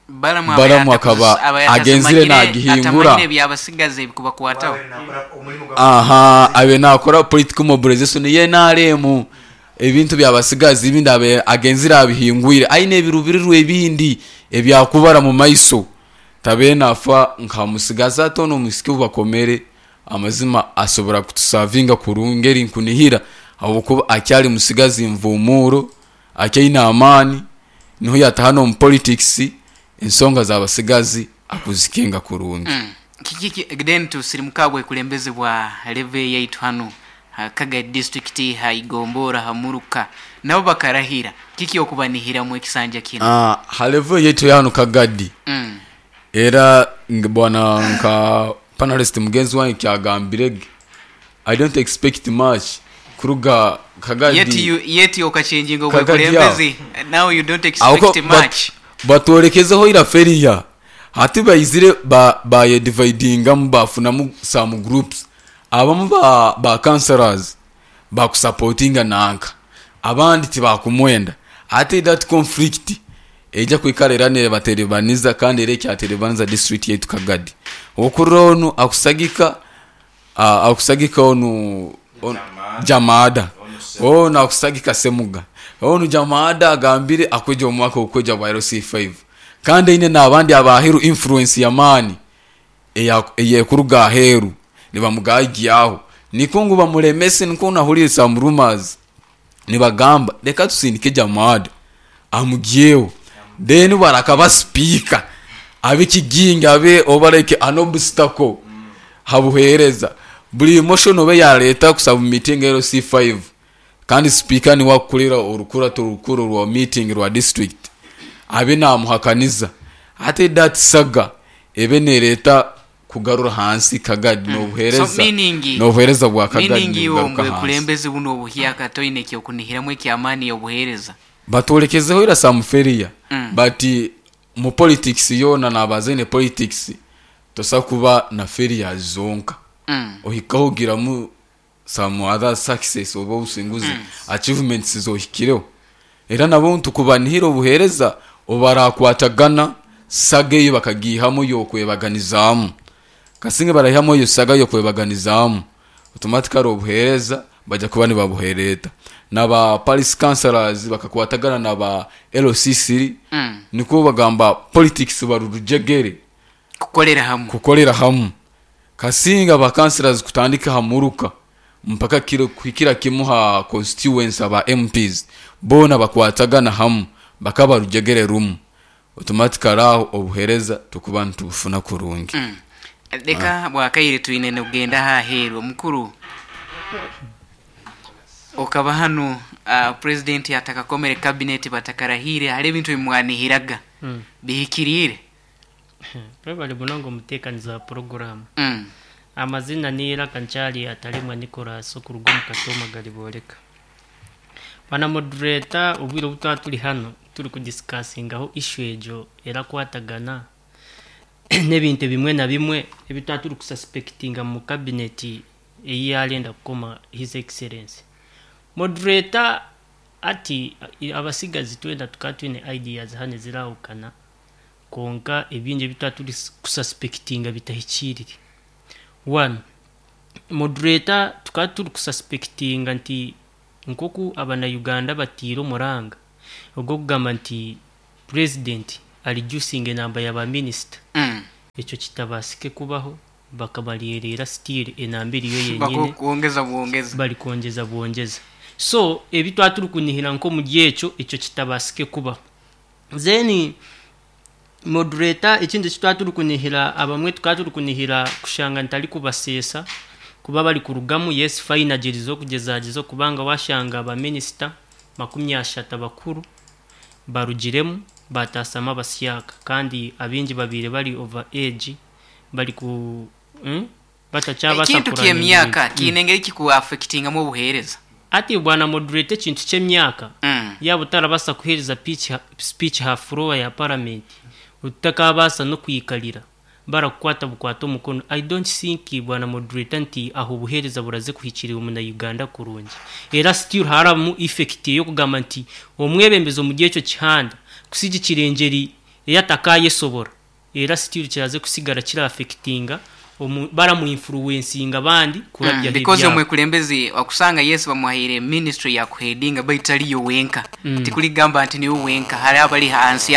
Balamu Balamu akaba agenzire nagihingura. atamanyire ebyabasigazi ebikubakwataho. Aha, abe nakora political mobilization ye NRM ebintu byabasigazi ebindi abe agenzire abihingwire aine ebirubirirwa ebindi ebyakubara mu maiso tabe nafa nka musigazi ati ono omusiki obubakomere amazima asobora kutusavinga kurungi eri nkunihira ahabwokuba akyari musigazi nvumuro akyaine amaani niho yataha n'omu politics ensonga z'abasigazi akuzikinga kurungi. Kiki then tusirimuka bwekulembeze bwa level yaitu hanu ha Kagadi district ha Igombora ha Muruka nabo bakarahira kiki okubanihiramu ekisanja kino? Ha level yaitu hanu Kagadi era bwana nka panelist mugenzi wange kyagambirege I don't expect much kuruga Kagadi. Yet you yet okachanginga Kagadi aho. obwekulembezi now you don't expect Ahoko much. Batworekezeho ira failure hati baizire bayedividingamu bafunamu some groups abamu ba councillors bakusupportinga nanka abandi tibakumwenda ate that conflict eija kwikara era nebaterebaniza kandi era ekyaterebaniza district yaitu Kagadi. Okurora onu akusagika akusagika onu Jamada onu akusagika Semuga onu Jamada agambire akweja omwaka okweja bwa LC5 kandi aine n'abandi abaheru influence yamaani eyekuruga aheru nibamugagiaho niko ngu bamulemese niko nahurire some rumors nibagamba reka tusindike Jamada amugyeho then barakaba speaker abe kiginga abe oba like an obstacle habuhereza buri motion obe yareta kusaba meeting LC5 kandi speaker ni wakulira orukura torukuru rwa meeting rwa district abe namuhakaniza ate that saga ebe nereta kugarura hansi Kagadi n'obuhereza So meaning n'obuhereza bwa Kagadi meaning iwe nibugaruka hansi. omwekulembeze buno obuhyaka toine kyokunihiramu ekyamaani obuhereza batolekezeho ira some failure but mu politics yona nabazaine politics tosa kuba na failure zonka ohikaho giramu some other success oba obusinguzi achievements zohikireho era nabo ntukubanihira obuhereza obarakwatagana saga eyo bakagihamu yokwebaganizamu kasinge barahihamu eyo saga yokwebaganizamu automatically obuhereza bajya kuba nibabuhereta naba Paris councillors bakakwatagana naba LCC niko bagamba politics barurujegere kukolera hamwe kukolera hamwe kasinga ba councillors kutandika hamuruka mpaka kiro kuhikira kimu ha constituents aba MPs bona bakwatagana hamwe bakaba rujegere rumu automatically aho obuhereza tukuba ntubufuna kurungi. Leka bwakaire twine nogenda haheru omukuru okaba hanu president atakakomere cabinet batakarahire hari ebintu bimwanihiraga bihikirire. Bali munongo omuteekaniza wa program. Amazina ni Iraka Nchali atalimwa Nicholas okuruga omu Katoma galiboleka. Bana moderator obwire obu twaba turi hano turi kudiscussingaho issue egyo erakwatagana. N'ebintu ebimwe na bimwe ebi twaba turi kususpectinga mu cabinet ei yarenda kukoma His Excellency. Moderator ati abasigazi twena tukaba twine ideas hanu ezirahukana kwonka ebingi ebi twaba turi kususpectinga bitahikiirire. One, Moderator tukaba turi kususpectinga nti nk'oku abana-Uganda bataire omuranga ogw'okugamba nti Purezidenti areducinga enamba ya ba minisita, ekyo kitabaasike kubaho bakabareereera still enamba eriyo yenyine. Bakwongeza bwongeza. Bari kwongyeza bwongyeza. So ebi twaba turi kunihira nk'omuri ekyo, ekyo kitabaasike kubaho. Then Moderator ekindi eki twaba turi kunihira abamwe tukaba turi kunihira kushanga ntari kubaseesa kuba bari kurugamu, yes fine agyerizeho kugyezagyezaho kubanga washanga ba minisita 30 abakuru barugiremu baataasyamu abasyaka kandi abaingi babaire bari over age bari ku batakyabaasa Ekintu kuraninga ky'emyaka ebintu. kiine engeri kiku affectingamu obuheereza? Hati bwana moderator ekintu ky'emyaka yaaba otarabaasa kuheereza speech ha floor ya parliament otakabaasa n'okwikarira barakukwata bukwate omukono I don't think bwana moderator nti aho obuhereza buraze kuhikirira omuna Uganda kurungi era still harabamu effect eyokugamba nti omwebembezi omuri ekyo kihanda kusigikira engyeri eyatakayesobora era still kiraze kusigara kira affectinga omu baramu influencinga abandi kurabyaho Because ebyabo. omwekulembezi wakusanga yes bamuhaire ministry ya kuheadinga baitu tariyo wenka tikurigamba nti niwe wenka hariho abari ahansi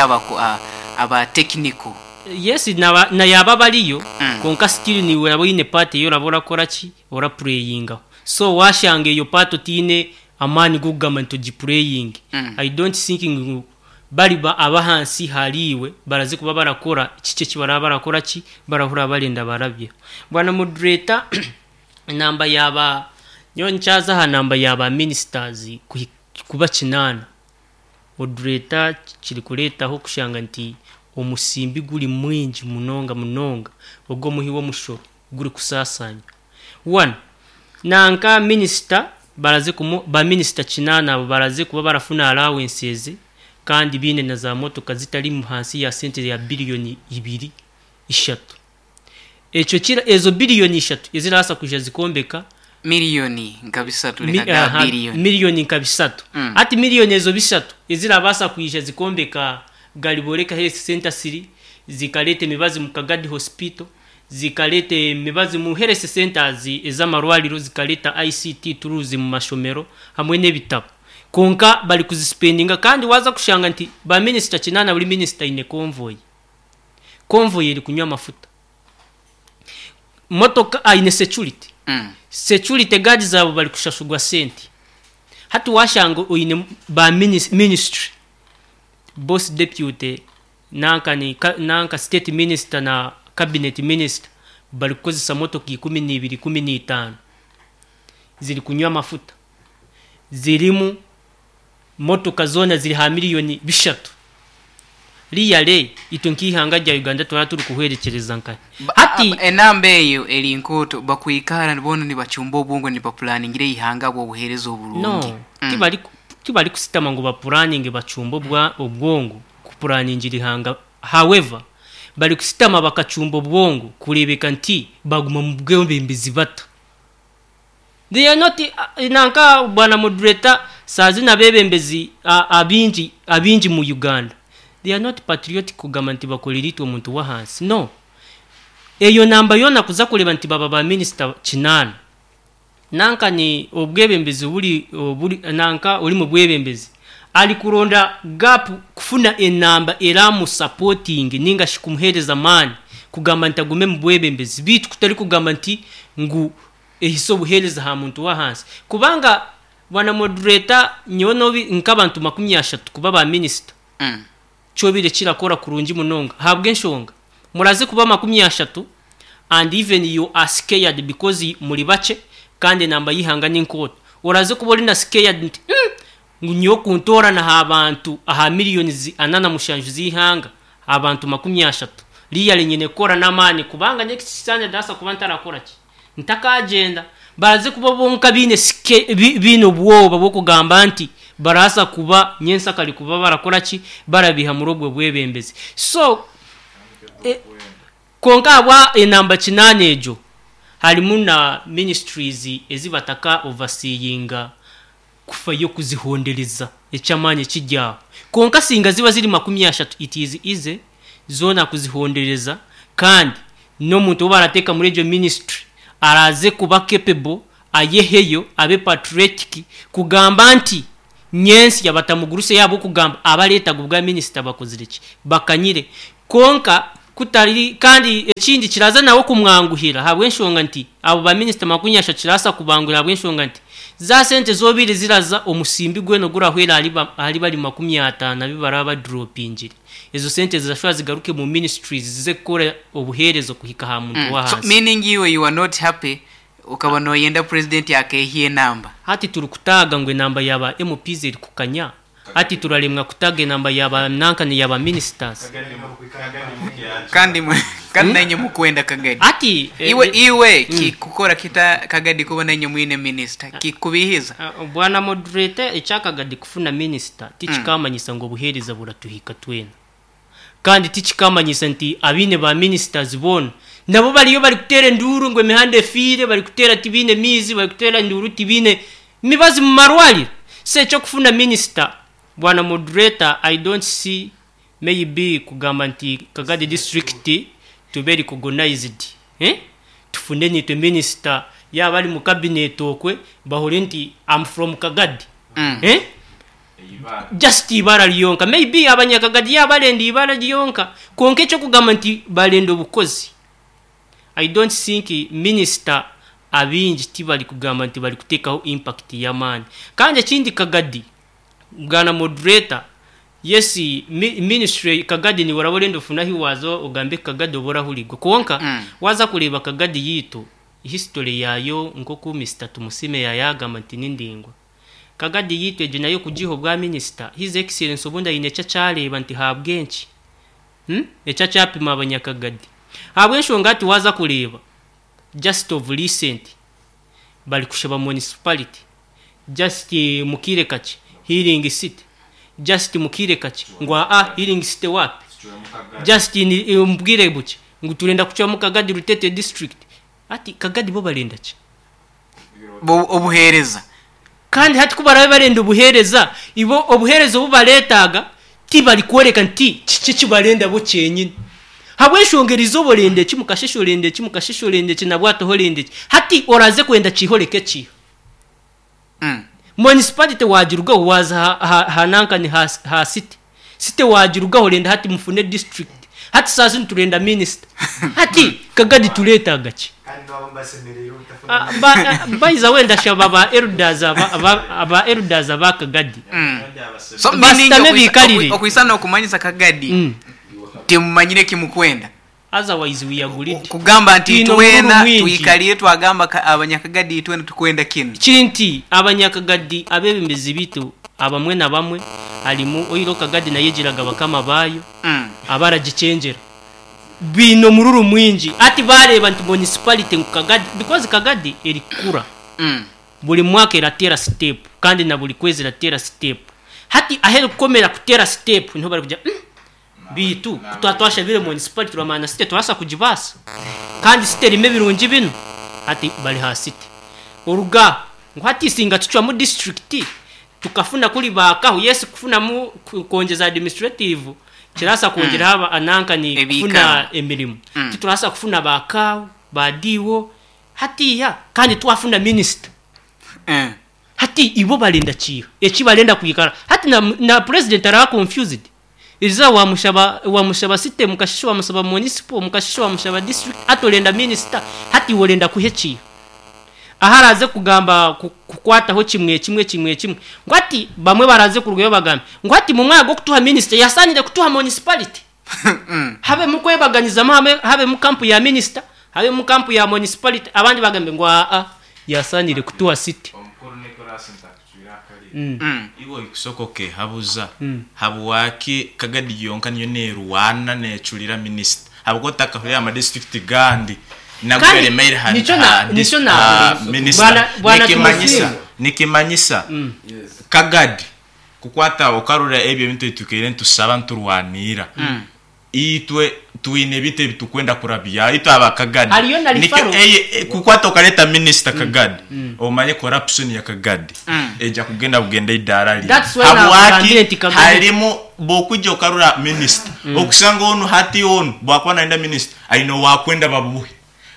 aba technical. Yes naba na yaba abariyo kwonka still niiwe oraba oine part ei oraba orakora ki ora pureyingaho so washanga eyo part otiine amaani g'okugamba nti ogipureyinge I don't think ngu bari ba ab'ahansi ahariiwe baraze kuba barakora kiki eki baraba barakora ki barahurira barenda barabyeho. Bwana moderator enamba ya ba nyowe nikyaza aha namba ya ba ministers kuhi kuba kinaana Moderator kirikureetaho kushanga nti omusimbi guri mwingi munonga munonga ogw'omuhi w'omushoro gurikusaasaanywa. One, nanka minisita baraze kumu ba minisita kinaana abo baraze kuba barafuna allowances kandi baine na za motoka zitari hansi ya sente ya biriyoni ibiri, ishatu. Ekyo kira ezo biriyoni ishatu ezirabaasa kwija zikombeka. Miriyoni nka bisatu Mi, reka ga aha, biriyoni. miriyoni nka bisatu. Hati miriyoni ezo bishatu ezirabaasa kwija zikombeka Gariboreka Health Centre siri, zikareeta emibazi mu Kagadi Hospital, zikareeta emibazi mu Health Centres ez'amarwariro, zikareeta ICT tools mu mashomero hamwe n'ebitabo. Kwonka bari kuzisipendinga kandi waaza kushanga nti ba minisita kinaana buri minisita aine convoy. Convoy eri kunywa amafuta. Motoka aine security. Security guard zaabo bari kushashurwa sente. Hati washanga oine ba ministry, boss deputy nanka ni nanka state minister na cabinet minister bari kukozesa motoka 12, 15 ziri kunywa amafuta. Zirimu motoka zoona ziri aha miriyoni bishatu. Really itwe nk'eihanga rya Uganda turaba turi kuhwerekyereza nkahi? Hati. Enamba eyo eri nkooto bakwikara boona nibacumba obwongo nibapulaningira eihanga ahabw'obuheereza oburungi. No, tibari tibari kusitama ngu bapuraninge bacumbe obwa obwongo kupuraningira eihanga however bari kusitama bakacumba obwongo kureebeka nti baguma mu bwebembezi bata. They are not nanka bwana moderator saa zinu abebembezi abingi abingi mu Uganda they are not patriotic kugamba nti bakorera itwe omuntu wahansi no eyo namba yoona kuza kureba nti baba ba minister kinaana nanka ni obwebembezi oburi oburi nanka ori mubwebembezi ari kuronda gap kufuna enamba eramu supporting ninga shi kumuhereza amaani kugamba nti agume mubwebembezi beitu kutari kugamba nti ngu Ehise obuheereza aha muntu w'ahansi. Kubanga bwana moderator nyowe nobi nk'abantu 30 kuba ba minisita kyobaire kirakora kurungi munonga ahabw'enshonga muraze kuba 30 and even you are scared because muri bakye kandi enamba y'eihanga ni nkooto oraze kuba ori na scared nti umm ngu nyowe kuntoorana aha bantu aha millions 47 z'eihanga abantu 30 really nyine kukora n'amaani kubanga next kisanja ndabaasa kuba ntarakora ki Ntakagyenda, baraze kuba bonka baine baine obwoba bw'okugamba nti baraasa kuba nyensakare kuba barakora ki, barabiiha muri obwo bwebembezi. So, Kwonka ahabwa enamba kinaana egyo harimu na ministries ezi bataka overseeinga kufayo kuzihondereza eky'amaani ekiri aho. Kwonka singa ziba ziri 30 it is easy zoona kuzihondereza kandi n'omuntu ou barateeka muri egyo ministry araaze kuba capable ayeheyo abe patriotic kugamba nti nyentsya batamugurusya ahabw'okugamba abareetaga obwa minisita bakozire ki? Bakanyire. Kwonka kutari kandi ekindi kiraza nawe kumwanguhira ahabw'enshonga nti abo ba minisita 30 kirabaasa kubanguhira ahabw'enshonga nti za sente z'obaire ziraza omusimbi gwena ogurahwera ahari ahari bari 50 abu baraba baduropingire ezo sente zirashuba zigaruke mu ministries zize kukora obuheereza okuhika aha muntu So w'ahansi. meaning iwe you are not happy okaba noyenda president akeehya enamba. Hati turi kutaaga ngu enamba ya ba MPs eri kukanya, hati turaremwa kutaaga enamba ya ba nankani ya ba ministers. Kandi kandi nainye mukwenda Kagadi. Hati Iwe iwe kikukora kita Kagadi kuba nainye mwine minister? Kikubiihiza? Bwana moderator ekya Kagadi kufuna minister tikikamanyisa ngu obuheereza buratuhika twena. Kandi tikikamanyisa nti abaine ba ministers boona nabo bariyo barikuteera enduuru ngu emihanda efiire, barikuteera tibaine maizi, barikuteera enduuru tibaine mibazi mu marwariro. So eky'okufuna minister, bwana moderator, I don't see maybe kugamba nti Kagadi district tube recognized eh, tufune naitwe minister yaaba ari mu cabinet okwe bahurire nti am from Kagadi eh. Just eibara ryonka. Maybe abanyakagadi yaaba barenda eibara ryonka kwonka eky'okugamba nti barenda obukozi I don't think minister abaingi tibarikugamba nti barikuteekaho impact y'amaani. Kandi ekindi Kagadi, bwana moderator, yes ministry Kagadi niiwe oraba orenda ofune ahi waaza ogambe Kagadi obe orahurigwa kwonka waaza kureeba Kagadi yaitu history yaayo nk'oku Mister Tumusiime yaayagamba nti ni ndaingwa. Kagadi yaitu egyo nayo kugiha obwa minisita, His Excellency obundi aine eki akyareeba nti ahabw'enki? Hum? Eki akyapima abanyakagadi. Ahabw'enshonga hati waaza kureeba just of recent bari kushaba municipality, just mu kaire kakye healing city, just mu kaire kakye ngu aa healing city waapi? Just in omu bwire bukye ngu turenda kucwamu Kagadi Rutete district. Hati Kagadi bo barenda ki? Bo obuheereza. Kandi hati ku baraabe barenda obuheereza, ibo obuheereza obu bareetaaga tibarikworeka nti kiki eki barenda bo kyenyini. Habw'enshonga erizooba orenda eki, mukasheeshe orenda eki, mukasheeshe orenda eki, nabwatoho orenda eki. Hati oraaze kwenda kiihoreke kiiha? Municipality waagirugaho waaza aha, aha, aha nankani ha, ha city. City waagirugaho orenda hati mufune district. Hati saaha zinu turenda minister. Hati Kagadi tureetaaga ki? Ah, ba, ah, by the way ndashaba ba elders aba, aba, aba elders aba Kagadi. So meaning Basitame okwisa- biikarire. okwisa n'okumanyisa Kagadi timumanyire eki mukwenda. Otherwise we are greedy. Kugamba nti Twine omururu itwena mwingi. twikarire twagamba ka Abanyakagadi itwena tukwenda kinu. Kiri nti Abanyakagadi abebembezi baitu abamwe na bamwe harimu oiro Kagadi nayo egiraga bakama baayo abaragikyengyera. Baine omururu mwingi hati bareeba nti municipality ngu Kagadi because Kagadi erikukura buri mwaka erateera step kandi na buri kwezi erateera step. Hati ahu erikukomera kuteera step niho barikugira umm Beitu ku twaba twashabire municipality turamanya na city turabaasa kugibaasa? Kandi city erimu ebirungi binu? Hati bari aha city. Oruga aho ngu hati singa tucwamu district tukafuna kuri baakaho, yes kufunamu kwongyeza administrative kirabaasa kwongyeraho aba nankani kufuna emirimo. Titurabaasa kufuna ba CAO, ba DO hatiiya kandi twafuna minister. Hati ibo barenda kiiha? Eki barenda kwikara hati na na president araba confused. Erizooba wamushaba wamushaba city mukasheshe wamushaba municipal mukasheshe wamushaba district hati orenda minister hati iwe orenda kuha ekiiha? Ahu araaze kugamba kukwataho kimwe kimwe kimwe kimwe ngu hati bamwe baraaze kurugayo bagambe ngu hati mu mwanya gw'okutuha minister yasaanire kutuha municipality. Habemu okwebaganizamu habemu kampu ya minisita, habemu kampu ya municipality abandi bagambe ngu aa yasaanire kutuha city. Omukuru Nicholas ntakucwire akarire. Iwe oikusoka okehabuza habwaki Kagadi yonka niyo nerwana necurira minisita habwokuba otakahurire aha madisiturikiti gandi nago Kandi garemeire aha nikyo na- aha nikyo dis- na- aha minisita. Bwana- Bwana Nikimanyisa Tumusiime. nikimanyisa Kagadi kukwata okarora ebyo ebintu ebitukaire nitusaba niturwanira. Itwe twine ebitu ebitukwenda kurabya itwe aba Kagadi. Hariyo na Nikyo referral. eye e, kukwata okareta minisita Kagadi omanye corruption ya Kagadi eja kugenda bugenda eidaara rimwe. That's why Habwaki nakugambire nti Kagadi harimu bwokwija okarora minisita okusanga onu hati onu bwakuba nayenda minisita aine owakwenda babuhe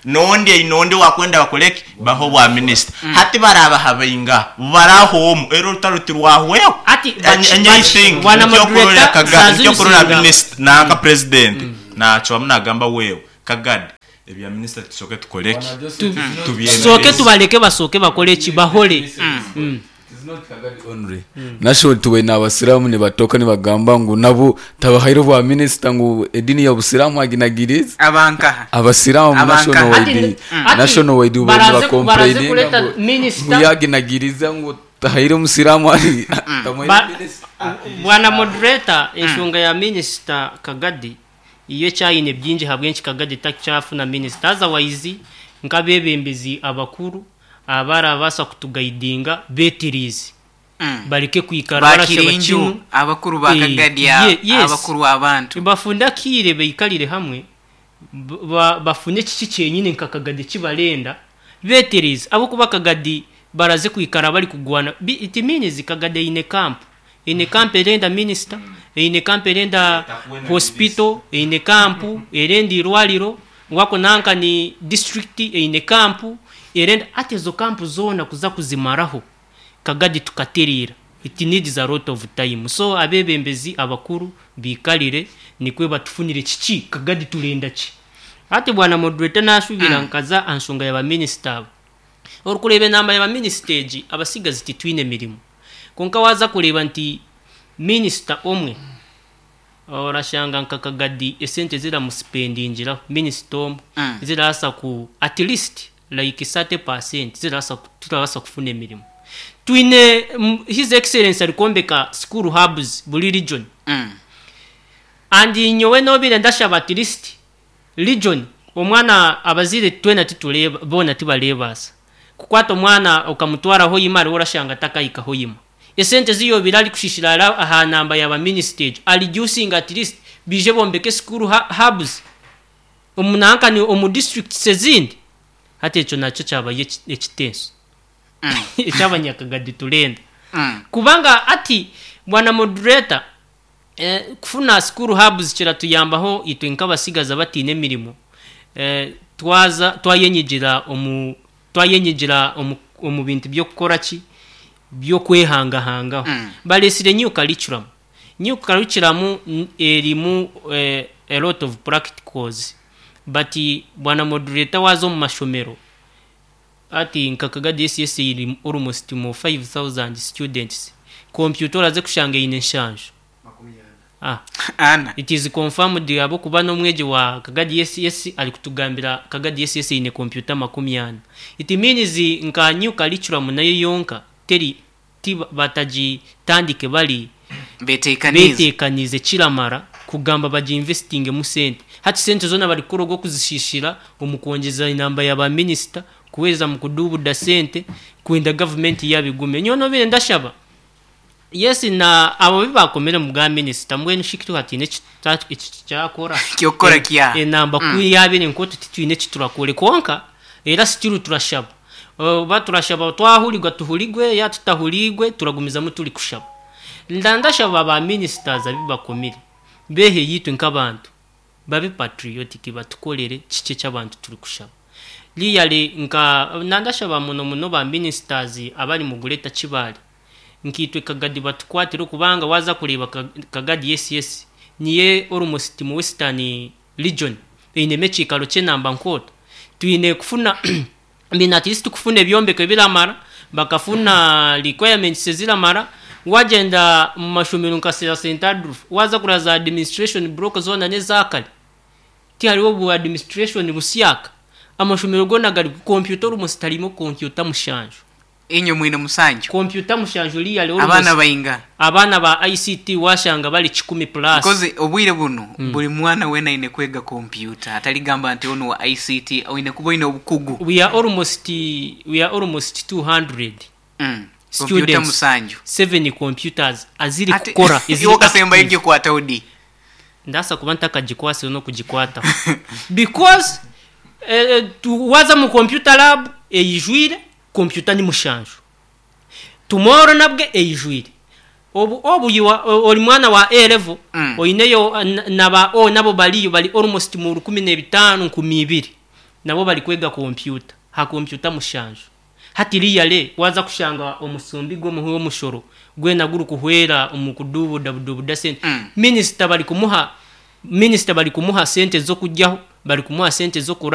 nondi aine ondi owakwenda bakoreki bahe obwa minisita. Hati barabaha baingaha? Baraha omu era orutaro tirwahweho. Ati Enye I think bwana nikyo okurora moderator Kagadi nikyo okurora Zazuzinga. minisita nanka president nacwamu nagamba wewe Kagadi ebya minisita tusoke tukoreki Tusooke tubyemereze. tubaleke basooke bakore ki bahore. Nasho tubaine abasiraamu nibatoka nibagamba ngu nabo tabahaire obwa minisita ngu edini ya busiraamu aginagirize. Abankaha. Abasiraamu Abankaha. national Ati wide ati national wide ubaire baraze baraze nibakomplaininga kuleta ngu ngu minister yaginagiriza ngu tahaire omusiraamu ari tamuhaire Ba- minisita. bwana moderator enshonga ya minisita Kagadi iyo ekyayine bingi habwenki Kagadi takyafuna minisita otherwise nk'abebembezi abakuru abarabasa kutugaidinga betirize bareke kwikara barashaba Bakirinju kinu abakuru ba Eh, Kagadi yes. abakuru abantu. Bafunde akiire beikarire hamwe bafune kiki kyenyine nka Kagadi kibarenda betereze abokuba Kagadi baraze kwikara bari kugwana. It means Kagadi eine camp, eine camp erenda minister, eine camp erenda hospital, eine camp erenda irwariro wako nanka ni district eine camp erenda ate ezo camp zona kuza kuzimaraho Kagadi tukaterera. It needs a lot of time. So abebembezi abakuru bikalire nikwe batufunire kiki Kagadi turenda ki. Ati bwana moderator nashubira nkaza ansonga ya ba minister abo. Orukureba enamba ya ba minister egi abasigazi titwine mirimo. Konka waza kureba nti minister omwe orashanga nka Kagadi esente ziramuspendingiraho minister omwe zirasa ku at least like 30% zirasa turabasa kufuna emirimo. Twine His Excellency arikombeka school hubs buri region. And nyowe nobire ndashaba at least region omwana abazire twena titureba bona tibarebasa kukwata omwana okamutwara Hoima ariho orashanga takahika Hoima esente ziyobire ari kushishira aha namba ya ba minister ari reducing at least bije bombeke school hubs omunankani omu districts ezindi. Hati ekyo nakyo kyabaye ekitenso ekyabanyakagadi turenda. Kubanga ati bwana moderator kufuna school hubs kiratuyambaho itwe nk'abasigaza batine emirimo twaza twayenyigira omu twayenyigira omu, omu bintu by'okukora ki by'okwehangahangaho. Balesire new curriculum. New curriculum erimu a lot of practicals, but bwana moderator waza omu mashomero ati nka Kagadi SS iri almost mu 5000 students, computer oraze kushanga eine nshanju. Ana. It is confirmed abo kuba n'omwegi wa Kagadi SS ari kutugambira Kagadi SS eine computer 40. It means nka new curriculum nayo yonka teri batagitandike bari betekanize betekanize kiramara kugamba baji investing mu sente. Hati sente zona bari kurogo kuzishishira omukwongeza inamba ya ba minister kuweza mu kudubuda sente kwenda government yabigume. Nyono bire ndashaba yes na abo bibakomere mu bwa minister mbwenu shikitu hatine kyakora Kyokora kya. Enamba kuyabire nko tutitwine kiturakore konka era still turashaba. Ba turashaba twahurirwa tuhurirwe ya tutahurirwe turagumizamu turi kushaba. Ndandashaba ba ministers abibakomere behe yitwe nk'abantu babe patriotic batukorere kike cy'abantu turi kushaba. Liyale nka nandashaba muno muno ba ministers abari mu Greater Kibale nkitwe Kagadi batukwatire kubanga waza kureba Kagadi SS niye almost mu Western region eine mekikalo kyenamba nkoto twine kufuna mbina at least kufuna ebyombeko ebiramara bakafuna requirements ziramara wagenda mu mashomero nka St Andrew waza kuraza administration block zona nezakale ti hariho bu administration busyaka amashomero gona gari computer almost harimo computer mushanju Inyo mwine musanju computer mushanju liya leo Abaana bainga abaana ba ICT washanga bali 10 plus Because obwire buno buli mwana wena ine kwega computer ataligamba nti ono wa ICT oine kuba oine obukugu. We are almost 200 Computer students. musanju 7 computers aziri kukora, eziri Iwo kasemba active. ibyo kwata odi. Ndaasa kuba ntakagikwasire n'okugikwataho because waaza omu computer lab eijwire, computer ni mushanju. Tomorrow nabwe eijwire. Obu obu you are ori mwana wa A level oineyo na ba O nabo bariyo bari almost mu 15,000 2000 nabo barikwega kompyuta aha kompyuta mushanju. Hati really waaza kushanga omusumbi gw'omuhi w'omushoro gwena gurikuhwera omu kuduubuda buduubuda sente. Minisita barikumuha minisita barikumuha sente z'okuryaho, barikumuha sente z'okuraaraho.